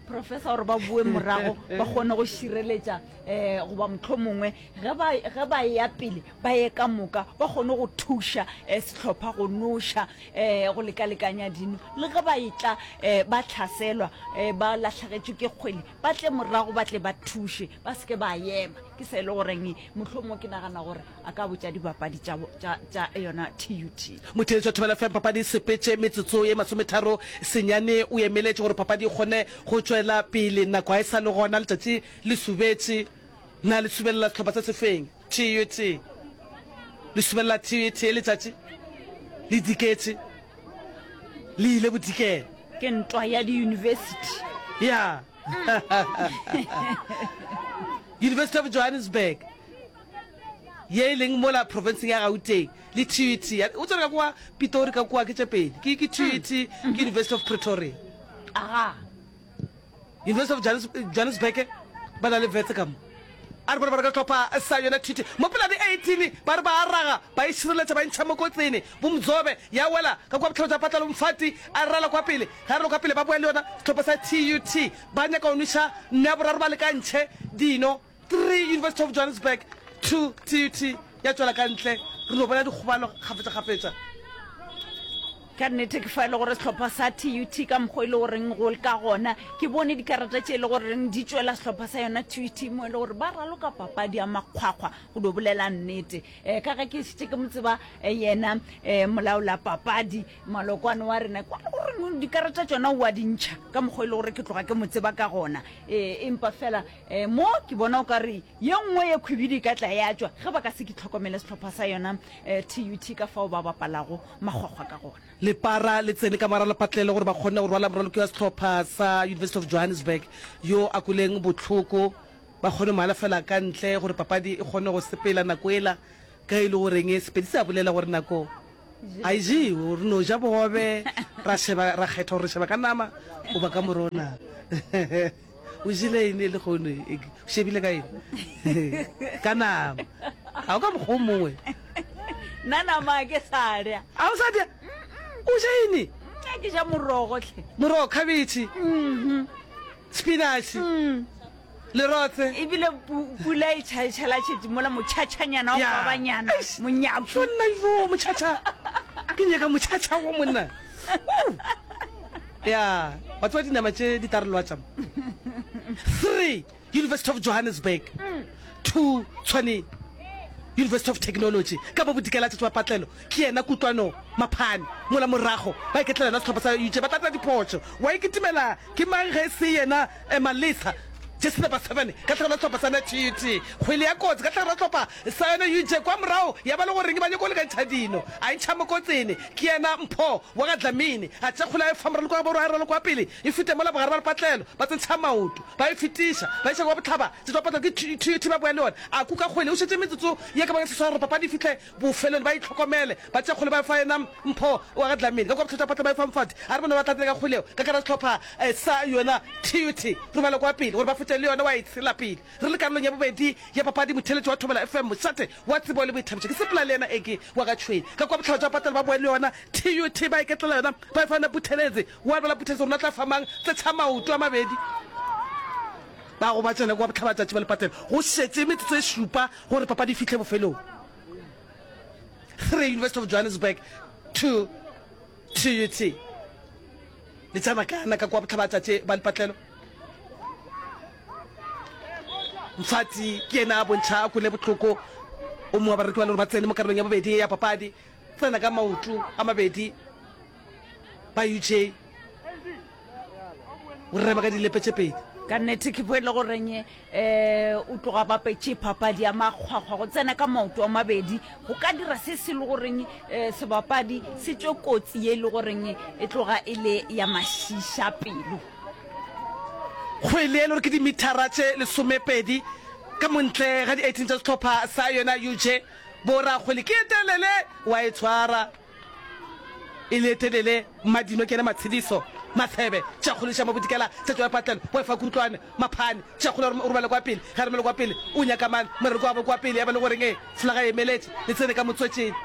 Speaker 1: Professor gore ba boe morago ba kgone go šireletša eh goba mohlomongwe ge ba ge ba eya pele ba ye ka moka ba kgone go thuša eh, sehlopha go noša eh, go lekalekanya dino le ge ba etla eh, ba hlaselwa eh, ba lahlagetšwe ke kgwele ba tle morago ba tle ba thuše ba se ke ba ema ke se e le goreng mohlomongwe ke nagana gore a ka botša dibapadi tša, tša, tša yona T U T.
Speaker 2: Motheeletši wa Thobela F M, papadi e sepetše metsotso ye masometharo senyane o emeletše gore papadi e kgone go tšwela pele. Nako ga e sa le gona, letšatši le subetše. Na le subelela sehlopha se sefeng? T U T. Le subelela T U T, letšatši le diketše, le ile bodikela.
Speaker 1: Ke ntwa ya diyunibesithi.
Speaker 2: Ya. University of Johannesburg. Ye e leng mola profenseng ya Gauteng, le T U T. O tsere ka kwa Pitori ka kwa ke tše pedi. Ke ke T U T, ke University of Pretoria.
Speaker 1: Aga.
Speaker 2: University of Johannes, Johannesburg ba na le vetse ka mo. A re bone ba re ka hlopha sa yona T U T. Mo pela di eighteen ba re ba a raga, ba e šireletša ba e ntšha mo kotsini. Bomzobe ya wela ka kwa bohlabo tša Patlalo Mfati a rala kwa pele. Ge a rala kwa pele ba boya le yona sehlopha sa T U T. Ba nyaka go nweša nno ya boraro ba lekantšhe dino. Three University of Johannesburg, two T U T ya tšwela ka ntle. Re no bona dikgobalo kgafetšakgafetša.
Speaker 1: Ka nnete ke fa e le gore sehlopha sa T U T ka mokgwa e le goreng go ka gona, ke bone dikarata tše e le goreng di tšwela sehlopha sa yona T U T mo e le gore ba raloka papadi ya makgwakgwa go dio bolela nnete. Um ka ge ke šetše ke mo tseba yena um molaola papadi malokwane wa rena, kwa le goreng dikarata tšona o a di ntšha ka mokgwa e le gore ke tloga ke mo tseba ka gona. Um empa fela um mo ke bona o ka re ye nngwe ye khwibidi e ka tla ya tšwa ge ba ka se ke hlokomele sehlopha sa yona um T U T ka fao ba bapalago makgwakgwa ka gona.
Speaker 2: Lepara le tsene ka morago lepatlelo gore ba kgone go rwala moraloki wa sehlopha sa University of Johannesburg yo a kweleng bohloko, ba kgone go mo alafela ka ntle gore papadi e kgone go sepela nako ela ka e le goreng Sepedi se a bolela gore nako a e jewe, re no ja bogobe ra sheba ra kgetha gore re sheba ka nama goba ka morogo na. O jele eng lehono? O shebile ka eng? Ka nama. Ga o ka mokgwa o mongwe.
Speaker 1: Nna nama ke sa lya.
Speaker 2: A o sa dya? O ja eng?
Speaker 1: Nna ke ja morogo hle.
Speaker 2: Morogo, khabetšhe, spinach, lerotse.
Speaker 1: Ebile pula e tšhalatšhetše mola motšhatšhanyana wa babanyana, monyaku.
Speaker 2: Monna yo motšhatšha. Ke nyaka motšhatšha wo monna. Ya, wa tseba dinama tše di tla re lwatša mo. Three, University of Johannesburg. Two, Tshwane University of Technology. Ka bo bodikela tšatši wa patlelo ke yena Kutlwano Maphane. Mola morago ba iketlela yona sehlopha sa U J ba tla dira diphošo. Wa ikitimela ke mang ge e se yena Malesa jersey number seven ka tlhagelo ya sehlopha sa yona T U T. Kgwele ya kotsi ka tlhagelo ya sehlopha sa yona U J kwa morago ya ba le goreng ba nyako lekantšha dino. A e ntšha mokotsene ke yena Mpho wa ga Dlamini. A tšea kgwele a e fa moraloko wa gabo a e raloka wa pele e fete mola bogare ba lepatlelo ba tsentšha maoto ba e fetiša ba iša kwa bohlaba tšatši wa patlelo ke T U T ba boya le yona a kuka kgwele o šetše metsotso ye ka bang seswai gore papadi e fihle bofelong ba itlhokomele ba tšea kgwele ba e fa yena Mpho wa ga Dlamini ka kwa bohlaba tša patlelo ba e fa Mfati a re bona ba tla tsena ka kgwele yeo ka gare ga sehlopha sa yona T U T romela kwa pele gore ba fete le yona wa e tshela pele re le karolong ya bobedi ya papadi motheeletši wa Thobela F M mošate wa tsebo le boithabišo ke sepela le yena Eke wa ga Tšhwene ka kwa bohlaba tša patlelo ba boya le yona T U T ba iketlela yona ba e fa yena Buthelezi wa bala Buthelezi gore na tla fa mang tse tsha maoto a mabedi ba go ba tsena kwa bohlabatšatši ba lepatelo go šetše metsotso e šupa gore papadi e fihle bofelong. Three University of Johannesburg two T U T le tsena kana ka kwa bohlabatšatši ba lepatlelo. Mfati ke yena a bontšha a kwele bohloko o mongwe wa bareki ba le gore ba tsene mo karolong ya bobedi ya papadi tsena ka maoto a mabedi ba U J o rema ka dilepe tše pedi.
Speaker 1: Ka nnete ke bo e le goreng um o tloga bapetše papadi ya makgwakgwa go tsena ka maoto a mabedi go ka dira se se le goreng um sebapadi se tšwe kotsi ye e le goreng e tloga e le ya mašiša pelo.
Speaker 2: Kgwele e le gore ke dimithara tše lesomepedi ka montle ga di eighteen tša sehlopha sa yona U J bo rakgwele ke e telele wa e tshwara e le telele Madino ke yena Matshediso Mathebe tša kgoliša mo bodikela tša tšwa patlelo bo efa Kutlwane Maphane tša kgola o romela kwa pele ge a romela kwa pele o nyaka mang morero kwa kwa pele ya ba le goreng e folaga e emeletše le tsene ka motswetšeng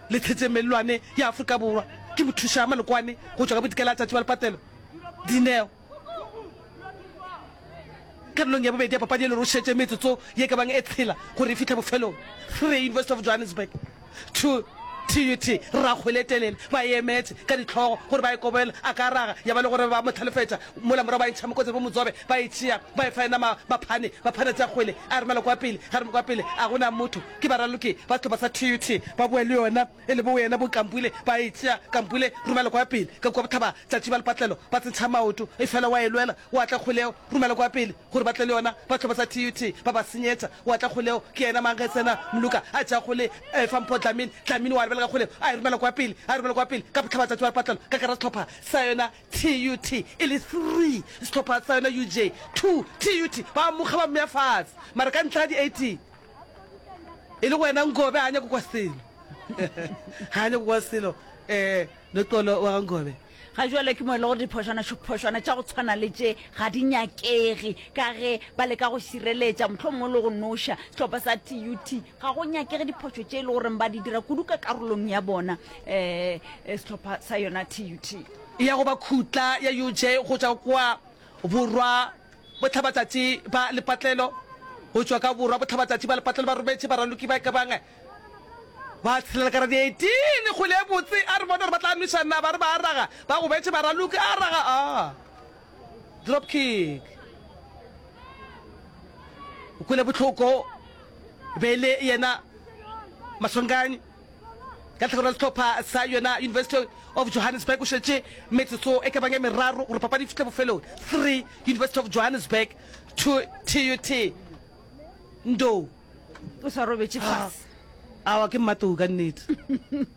Speaker 2: le tshetše mellwane ya Afrika Borwa ke mothuša Malokwane go tšwa ka bodikela tšatši ba lepatlelo Dineo karolong ya bobedi ya papadi e le gore o šetše metsotso ye ka bang e tshela gore e fihle bofelong. Three University of Johannesburg two T U T rakgwele telele ba e emetše ka dihlogo gore ba e kobele a ka raga ya ba le gore ba mo hlalefetša mola morago ba e ntšha mokotseng bo Motsobe ba e tšea ba e fa yena Maphane Maphane a tšea kgwele a romela kwa pele ge a romela kwa pele a go na motho ke baraloki ba sehlopha sa T U T ba boa le yona e le bo yena bo Kampule ba e tšea Kampule romela kwa pele ka kua bohlaba tšatši ba lepatlelo ba tsentšha maoto efela wa e lwela wa tla kgwele yeo romela kwa pele gore ba tle le yona ba sehlopha sa T U T ba ba senyetša wa tla kgwele yeo ke yena mang ge tsena Mluka a tšea kgwele e fa Mpho Dlamini Dlamini wa lebelela kgwele a e romela kwa pele a e romela kwa pele ka bohlaba tšatši ba lepatlelo ka gare ga sehlopha sa yona T U T e le three sehlopha sa yona U J two T U T ba mokga ba mmea fatshe mara ka ntle ga di eighteen e le go wena Nkobe ga a nyake kwa selo ga a nyake kwa selo um Noxolo wa ga Nkobe.
Speaker 1: Ga jwale ke mo e le gore diphošwana-phošwana tša go tshwana le tše ga di nyakege ka ge ba leka go šireletša mohlomongwe le go noša sehlopha sa T U T. Ga go nyakege diphošo tše e le goreng ba di dira kudu ka karolong ya bona um sehlopha sa yona T U T.
Speaker 2: Ya go ba khutla ya U J go tšwa kwa borwa bohlabatšatši ba lepatlelo, go tšwa ka borwa bohlabatšatši ba lepatlelo ba rometše baraloki ba e ka bang Ba tshelela ka ra di eighteen, kgwele e botse, a re bone gore ba tla nweša na, ba re ba a raga, ba gobetše baraloki, a raga, a drop kick. O kwele bohloko, e be e le yena Maswanganyi ka tlhakore la sehlopha sa yona University of Johannesburg. O šetše metsotso e ka bang e meraro gore papadi e fihle bofelong. Three University of Johannesburg, two T U T. Ndou.
Speaker 1: O sa robetše fase.
Speaker 2: Awa, ke Mmatou ka nnete.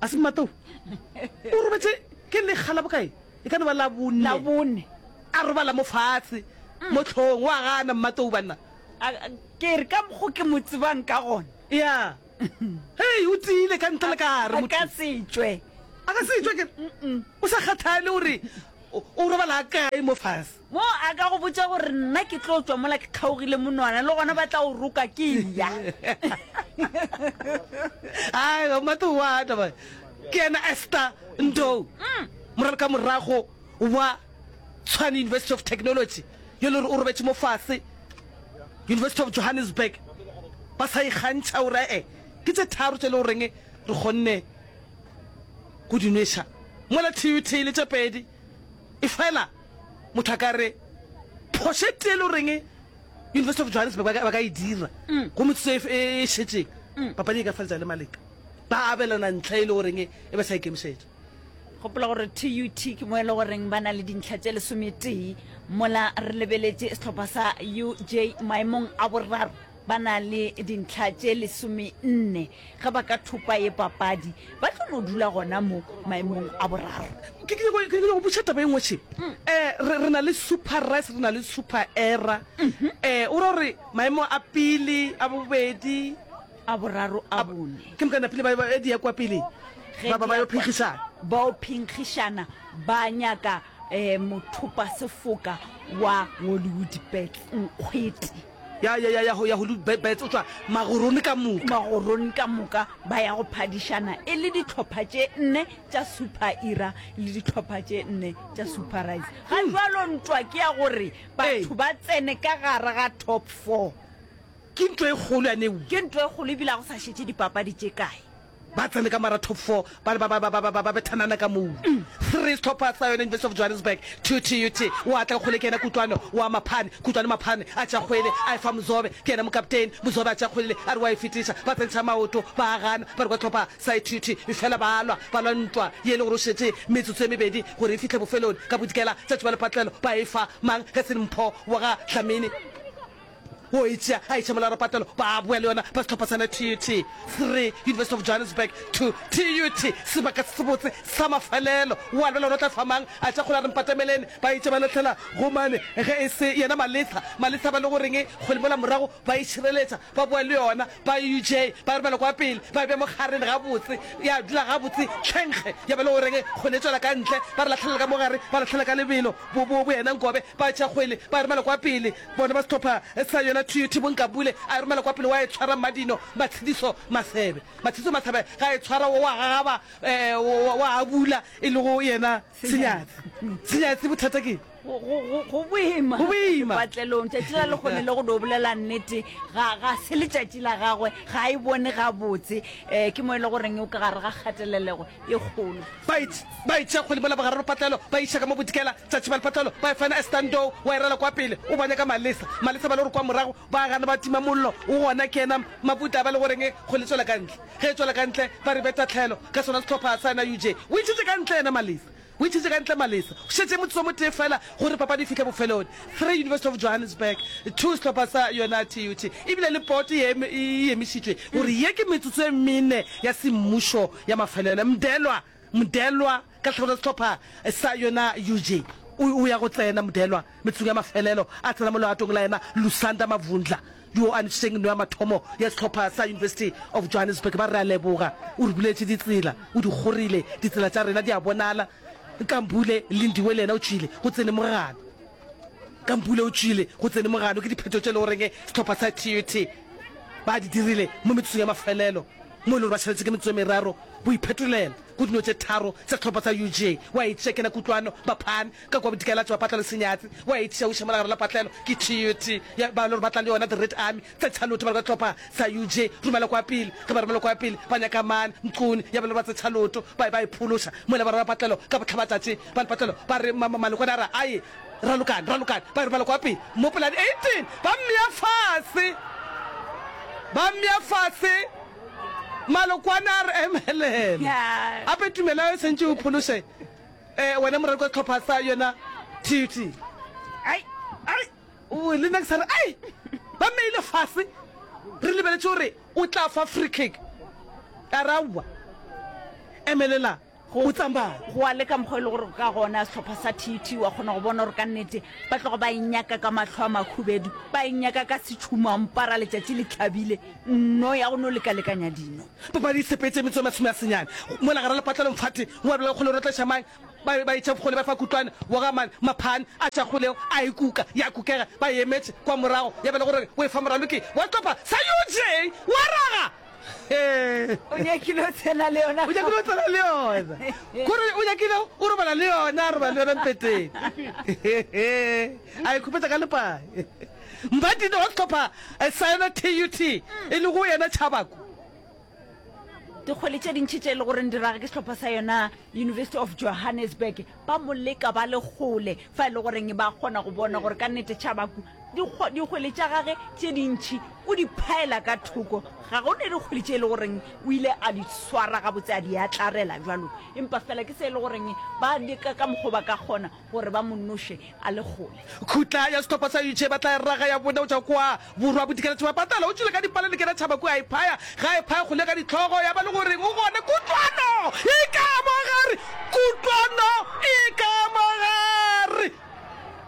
Speaker 2: A se Mmatou? O robetše ke lekga la bokae? E ka no ba la bone.
Speaker 1: La bone.
Speaker 2: A robala mo fatshe, mo hlong. O a gana Mmatou banna.
Speaker 1: A, ke re ka mokgo ke mo tsebang ka gona.
Speaker 2: Ya. Hei, o tiile ka ntle le ka gare
Speaker 1: A
Speaker 2: motho.
Speaker 1: ka se tšwe.
Speaker 2: A ka se tšwe ke re. O sa kgathale gore o robala kae mo fase.
Speaker 1: Mo a ka go botša gore nna ke tlo tšwa mola ke kgaogile monwana, le gona ba tla o roka ke eya.
Speaker 2: Ai, Mmatou wa taba. Ke yena Esther Ndou, moraloka morago wa Tshwane University of Technology, yo le gore o robetše mo fase University of Johannesburg. Ba sa ikgantšha gore ee, ke tše tharo tše le goreng re kgonne go di nweša mola T U T le tše pedi. Efela motho a ka re phošo e tee le goreng University of Johannesburg ba ka, ba ka e dira go metsotso e, e šetšeng, papadi e ka feletša le maleka. Ba abelana ntlha e le goreng e ba sa ikemišetša.
Speaker 1: Gopola gore T U T ke mo e le goreng ba na le dintlha tše lesometee, mola re lebeletše sehlopha sa U J maemong a boraro ba na le dintlha tše lesomenne. Ge ba ka thopa ye papadi, ba tlo no dula gona mo maemong a boraro.
Speaker 2: Ke ke nyako ke nyako go botša taba e nngwe še. Eh, re re na le Super Rice, re na le Super Era. Eh, o ra gore maemo a pele, a bobedi,
Speaker 1: a boraro, a bone.
Speaker 2: Ke moka napile ba ba di ya kwa pele.
Speaker 1: Ge
Speaker 2: Ba ba
Speaker 1: di
Speaker 2: ba
Speaker 1: ya
Speaker 2: yo
Speaker 1: kwa-
Speaker 2: phenkgišana.
Speaker 1: Bao phenkgišana ba nyaka um mothopa sefoka wa Hollywood Bets nkgwete.
Speaker 2: Ya ya ya ya ya Hollywood Bets o tšwa magorone ka moka.
Speaker 1: Magorone ka moka ba ya go phadišana e le dihlopha tše nne tša Super Era le dihlopha tše nne tša Super Rice. Ga jwalo ntwa ke ya gore batho ba tsene ka gare ga top four.
Speaker 2: Ke ntwa e kgolo ya neo.
Speaker 1: Ke ntwa e kgolo ebile ga go sa šetše dipapadi tše kae.
Speaker 2: Ba tsene ka mara top four ba ba ba ba ba ba ba bethanana ka moo. Three sehlopha sa yona University of Johannesburg, two T U T. Wa tla kgole ke yena Kutlwano wa Maphane. Kutlwano Maphane a tša kgwele a e fa Mzobe, ke yena mokaptene. Mzobe a tša kgwele a re wa e fetiša, ba tsentšha maoto ba a gana, ba re kwa sehlopha sa T U T efela ba lwa, ba lwa ntwa ye e le gore o šetše metsotso e mebedi gore e fihle bofelong. Ka bodikela tša tšuba lepatlelo ba e fa mang ge se Mpho wa ga Dlamini. O e tšea a iša mola rapatelo, ba boya le yona ba sehlopha sa T U T. Three University of Johannesburg, two T U T. Sebaka se sebotse sa mafelelo. Wa lebela gore o tla fa mang? A tša kgole a re mpatemelene. Ba itše ba lahlela go mane ge e se yena Malesa. Malesa ba le goreng kgole mola morago ba e šireletša. Ba boya le yona ba U J ba e romela kwa pele ba e bea mo kgareng gabotse ya dula gabotse tlhenkge ya ba le goreng kgwele e tšwela ka ntle ba re lahlela ka mo gare ba lahlela ka lebelo bo bo bo yena Nkobe ba tšea kgwele ba e romela kwa pele bona ba sehlopha sa yona T U T Bonkabule a e romela kwa pele wa e tshwara Mmadino Matshediso Masebe Matshediso Masebe ga e tshwara wa gagaba um wa abula e lego yena Senyatsi Senyatsi bothata ke
Speaker 1: Go, go, go, go boima.
Speaker 2: Go boima.
Speaker 1: Sepatlelong, tšatši la lekgone le go do bolela nnete, ga, ga se letšatši la gagwe, ga a e bone gabotse. Um ke mo e le goreng o ka gare ga kgatelelego e kgolo.
Speaker 2: Ba e, ba e tšea kgwele mola bogareng lepatlelo, ba e iša ka mo bodikela, tšatši ba lepatlelo, ba e fana Esther Ndou, wa e rala kwa pele, o ba nyaka Malesa, Malesa ba le gore kwa morago, ba gana ba tima mollo, o gona ke yena Mabuta ba le goreng kgwele e tšwela ka ntle. Ge e tšwela ka ntle, ba re be tahlelo ka sona sehlopha sa yena U J. O e ntšhitše ka ntle yena Malesa. O itšhitše ka ntle Malesa. Go šetše motsotso o motee feela gore papadi e fihle bofelong. Three University of Johannesburg, two sehlopha sa yona T U T. Ebile le poto e eme, e emišitšwe gore ye ke metsotso e mene ya semmušo ya mafelelo. Mdelwa, Mdelwa ka tlhagelo ya sehlopha sa yona U J. O, o ya go tsena Mdelwa metsotsong ya mafelelo, a tsena mo legatong la yena Lusanda Mavundla yo a nwešitšeng nno ya mathomo ya sehlopha sa University of Johannesburg. Ba re a leboga, o re buletše ditsela, o di kgorile, ditsela tša rena di a bonala. Nkambule Lindiwe le yena o tšwile, go tsene mogano. Nkambule o tšwile, go tsene mogano. Ke diphetho tše e le goreng sehlopha sa T U T ba di dirile mo metsotsong ya mafelelo. Mo e le gore ba šaletše ke metsotso e meraro go iphetolela go dino tše tharo tša sehlopha sa U J. Wa e tšea kena Kutlwano, Baphane, ka kua Bodikela tšwa Patla le Senyatsi. Wa e tšea o iša mola gare la patlelo ke T U T ya ba e le gore ba tla le yona The Red Army. Tse tšhaloto ba re ka sehlopha sa U J romela kwa pele. Ge ba romela kwa pele ba nyaka mane Mquni ya ba e le gore ba tse tšhaloto ba ba e phološa mola ba rera patlelo ka bohlabatšatši ba le patlelo ba re Malokwane a re ae ralokane ralokane ba e romela kwa pele mo polane eighteen ba mmea fase ba mmea fase Malokwane a re emelela ape tumelo e sentše o phološe um wena moradi kwa sehlopha sa yona T U T.
Speaker 1: Ai ai
Speaker 2: O le nna ke sa re ai ba mmeile fase re lebeletše gore o tla fa free kick a re aowa emelela o tsamaye.
Speaker 1: Go a le ka mokgwa e le gore ka gona sehlopha sa T U T wa kgona go bona gore ka nnete ba tloga ba e nyaka ka mahlo a makhubedu, ba e nyaka ka setšhumampara letšatši le hlabile, nno ya go no lekalekanya dino.
Speaker 2: Papadi e sepetše metsotso e masome a senyane mola gare lepatlelo Mfati wa bolela kgole o rotleša mang ba ba etša bokgole ba fa Kutlwane wa ga mang Maphane a tša kgoleo a e kuka ya kukega ba e emetše kwa morago ya ba le gore o e fa moraloki wa sehlopha sa U J wa raga He.
Speaker 1: O nyakile o tsena le yona.
Speaker 2: O nyakile o tsena le yona. Kore o nyakile o robala le yona, a robala le yona mpeteng. A e khupetša ka lepai. Mbadine wa sehlopha sa yona T U T e lego yena Tšhabako.
Speaker 1: Dikgwele tše dintši tše e le goreng di raga ke sehlopha sa yona University of Johannesburg ba mo leka ba le kgole fa e le goreng ba kgona go bona gore ka nnete Tšhabaku dikgwele tša gage tše dintši o di phaela ka thoko. Ga go ne dikgwele tše e le goreng o ile a di swara gabotse a di atlarela bjalo, empa fela ke se e le goreng ba leka ka mokgwa ba ka kgona gore ba mo noše a le kgole.
Speaker 2: Khutla ya sehlopha sa U J ba tla e raga ya bone go tšwa kwa borwa bodikela tšhaba patala o tšwele ka dipale le kena tšhaba kua a e phaya ga e phaya kgole ka dihlogo ya ba le goreng o gona kutlwano e ka mogare kutlwano e ka mogare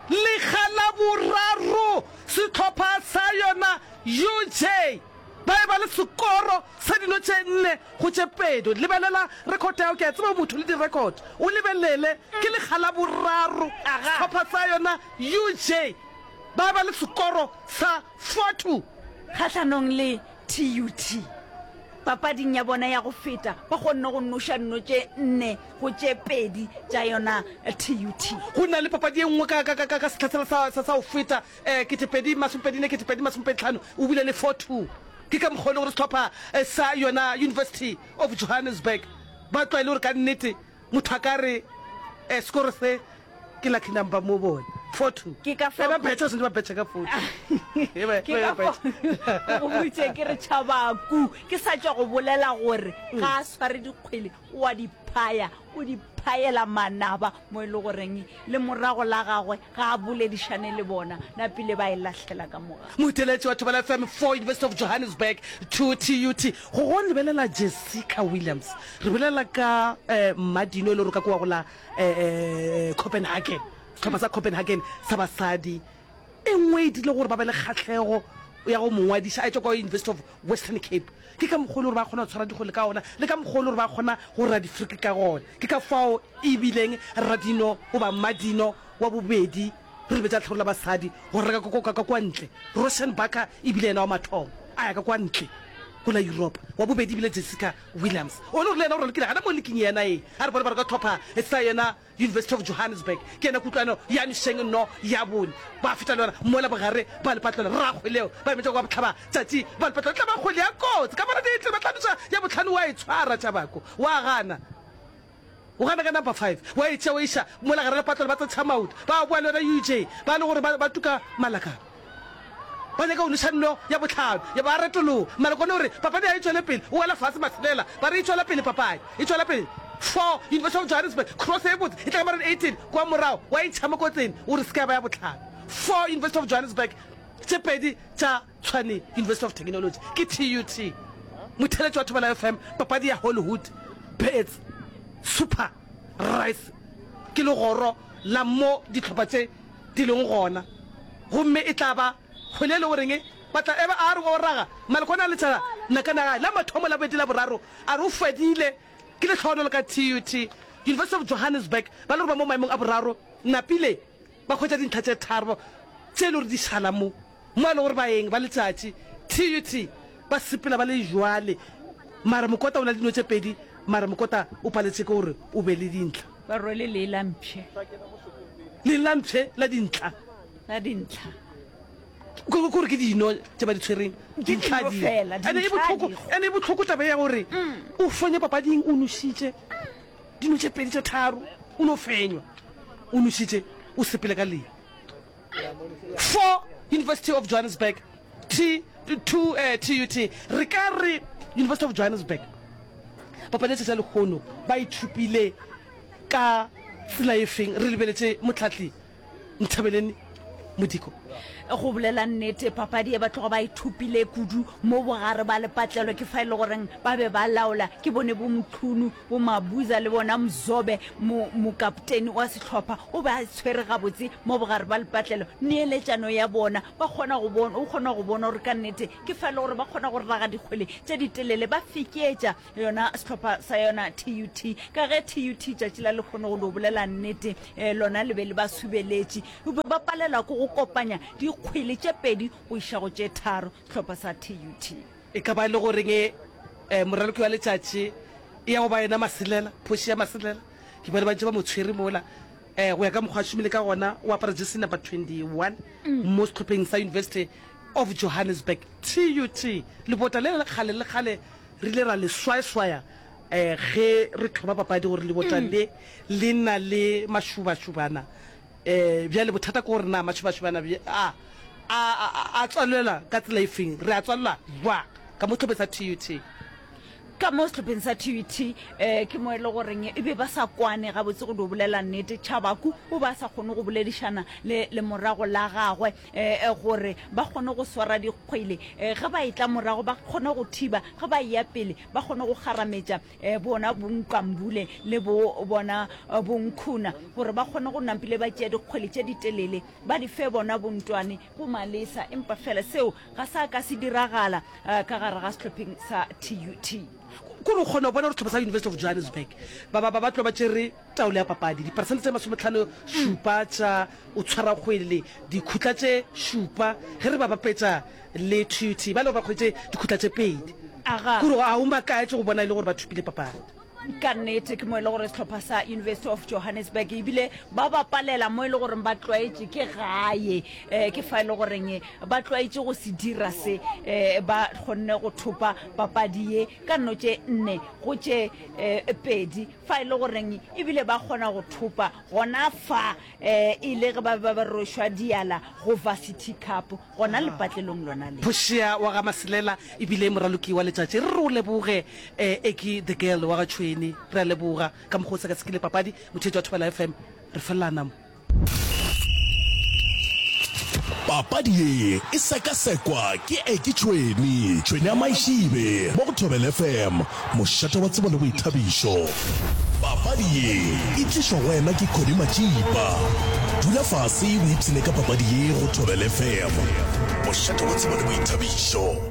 Speaker 2: lekga la boraro sehlopha sa yona U J ba e ba le sekoro sa dino tše nne go tše pedi. Lebelela rekhoto ya gago, ke a tseba o motho le direkhoto. O lebelele, ke lekga la boraro sehlopha sa yona U J ba ba le sekoro sa four two.
Speaker 1: Kgahlanong le T U T papading ya bona ya go feta, ba kgonne go noša dino tše nne go tše pedi tša yona T U T.
Speaker 2: Go na le papadi e nngwe ka, ka, ka, ka sehla sela sa, sa, sa go feta, eh, ketepedi masomepedi nne, ketepedi masomepedi tlhano, o bile le four two. Ke ka mokgwa o le gore sehlopha sa yona University of Johannesburg ba tlwaele gore ka nnete motho a ka re eh, sekoro se ke lucky number mo bone four two.
Speaker 1: Ke ka
Speaker 2: fao. Eh, ba betšha, ba swanetše ba betšha ka four two. Eh, ba,
Speaker 1: Ke ka
Speaker 2: ba
Speaker 1: fao ke go boditše ke re Tšhabaku ke sa tšwa go bolela gore ga a sware dikgwele o a di phaya, o di phayela manaba mo e le goreng le morago la gagwe ga a boledišane le bona, napile ba e lahlela ka moga.
Speaker 2: Motheeletši wa Thobela F M four University of Johannesburg two T U T. Go go lebelela Jessica Williams, re bolela ka Mmadino e le gore ka kua go la Copenhagen, sehlopha sa Copenhagen sa basadi. E nngwe e dirile gore ba be le kgahlego ya go mo ngwadiša a etšwa kwa University of Western Cape. Ke ka mokgwa o le gore ba kgona go tshwara dikgwele ka ona, le ka mokgwa o le gore ba kgona go ra difriki ka gona. Ke ka fao e bileng radino goba mmadino wa bobedi re lebetša lehlakore la basadi go reka ka, ka, ka kwa ntle. Roshan Barker e bile yena wa mathomo a ya ka kwa ntle go la Yuropa. Wa bobedi e bile Jessica Williams. O le gore le yena o ralokile gana mo liking yena ye. A re bone ba re ka hlopha sa yena University of Johannesburg. Ke yena kutlwano ya mešeng no ya bone. Ba feta le yona mola bogare ba lepatlelo rrakgweleo ba emetša kwa bohlaba tšatši ba lepatlelo tla ba kgwele ya kotsi ka bona ditle ba hlaloša ya bohlano wa e tshwara Tšabako wa gana o gana ka number five wa e tšea wa iša mola gare lepatlelo ba tsetšha maoto ba boa le yona U J ba le gore ba, ba tuka malakana ba nyaka go noša nno ya bohlano ya ba retologa Malokwane o re papadi ga e tšwele pele o wela fase maselela ba re e tšwela pele papadi e tšwela pele four University of Johannesburg cross e botse e tla ka mareng eighteen kwa morago wa e ntšha mo kotseng o re se ka ba ya bohlano four University of Johannesburg tše pedi tša Tshwane University of Technology ke T U T motheletši wa Thobela F M papadi ya Hollywood Bets Super Rice ke legoro la mo dihlopha tše di leng gona gomme e tla ba kgwele e le goreng ba tla eba a re o raga Malokwane a letša nakana gae la mathomo la bobedi la boraro a re o fedile ke lehlohonolo ka T U T University of Johannesburg ba le gore ba mo maemong a boraro napile ba hwetša dintlha tše tharo tše e le gore di šala mo mo e le gore baeng ba letšatši T U T ba sepela ba le jwale Mara Mokota o na le dino tše pedi, mara Mokota o paletše ke gore o be le dintlha.
Speaker 1: Ba rwele lee la mpšhe.
Speaker 2: Lee la mpšhe la dintlha.
Speaker 1: La dintlha.
Speaker 2: Ko gore ke dino tše ba di tshwereng.
Speaker 1: Ke dino fela,
Speaker 2: Ene e
Speaker 1: dintlha
Speaker 2: bohloko,
Speaker 1: di go.
Speaker 2: ene e bohloko taba ya gore o fenye papading o nošitše dino tše pedi tše tharo, o no fenywa. O nošitše, o sepele ka lee. Four University of Johannesburg, T, two, eh, T U T. Re ka re University of Johannesburg papadi ya tšatši la lehono ba e thopile ka tsela e feng, re lebeletše mohlahli Nthabeleni Modiko?
Speaker 1: Go bolela nnete, papadi ye ba tloga ba e thopile kudu mo bogare ba lepatlelo. Ke fa e le goreng ba be ba laola. Ke bone bo Mchunu, bo Mabuza le bona Mzobe, mo, mokapteni wa sehlopha o be a tshwere gabotse mo bogare ba lepatlelo. Neeletšano ya bona, ba kgona go bona, o kgona go bona gore ka nnete ke fa e le gore ba kgona go raga dikgwele tše ditelele, ba fekeetša yona sehlopha sa yona T U T. Ka ge T U T tšatši la lehono, go no bolela nnete, eh, lona le be le ba subeletše, be ba palelwa ke go kopanya dikgwele tše pedi go iša go tše tharo, sehlopha sa T U T.
Speaker 2: E ka ba e le goreng eh, moraloki wa letšatši e ya go ba yena Masilela, phoši ya Masilela. Ke bone ba ntše ba mo tshwere mola. Eh, go ya ka mokgwa a šomile ka gona, o apara jersey number twenty-one mo sehlopheng sa University of Johannesburg, T U T. Lebota le le kgale le kgale re ile ra le swayaswaya eh, ge re thoma papadi gore lebota le le na le mašubašubana. Eh, bjale bothata ke gore na mašubašubana a a a a tswalelwa ka tsela e feng, re a tswalela jwang ka mo sehlopheng sa T U T?
Speaker 1: Ka mo sehlopheng sa T U T um ke mo e le goreng e be ba sa kwane gabotse, go dio bolela nnete. Tšhabaku o be a sa kgone go boledišana le lemorago la gagwe um gore ba kgone go swara dikgwele, um ge ba etla morago ba kgone go thiba, ge ba eya pele ba kgone go kgarametša um bona bonkambule le bo bona bonkhuna gore ba kgone go nampile ba tšea dikgwele tše ditelele ba di fe bona bontwane bo malesa. Empa fela seo ga sa ka se diragala uh, ka gare ga sehlopheng sa T U T.
Speaker 2: Kore o kgona go bona gore sehlopha sa University of Johannesburg ba ba ba tlo ba tšere taolo ya papadi, diperesente tše masometlhano šupa tša o tshwara kgwele, dikhutla tše šupa, ge re ba bapetša le T U T ba le gore ba kgwetše dikhutla tše pedi.
Speaker 1: Aga.
Speaker 2: Kore ga o makatše go bona e le gore ba thopile papadi.
Speaker 1: Ka nnete ke mo e le gore sehlopha sa University of Johannesburg ebile ba bapalela mo e le goreng ba tlwaetše, ke gae, um ke fa e le goreng ba tlwaetše go se dira se. um ba kgonne go thopa papadi ye ka nno tše nne go tše um pedi, fa e le goreng ebile ba kgona go thopa gona fa um e le ge ba be ba rošwa diala go Varsity Cup gona lepatlelong lona le.
Speaker 2: Phošea wa ga Masilela ebile moraloki wa letšatši, re re o leboge um Eki the Girl wa ga Tšhweni, re a leboga ka mokgwa o sekasekile papadi. Motheetši wa Thobela F M, re felelana mo.
Speaker 7: Papadi ye e sekasekwa ke Eki Tšhweni, Tšhweni ya Maišibe, mo go Thobela F M, mošate wa tsebo le boithabišo. Papadi ye e tlišwa go wena ke Connie Matšipa. Dula fase o ipshine ka papadi ye go Thobela F M, mošate wa tsebo le boithabišo.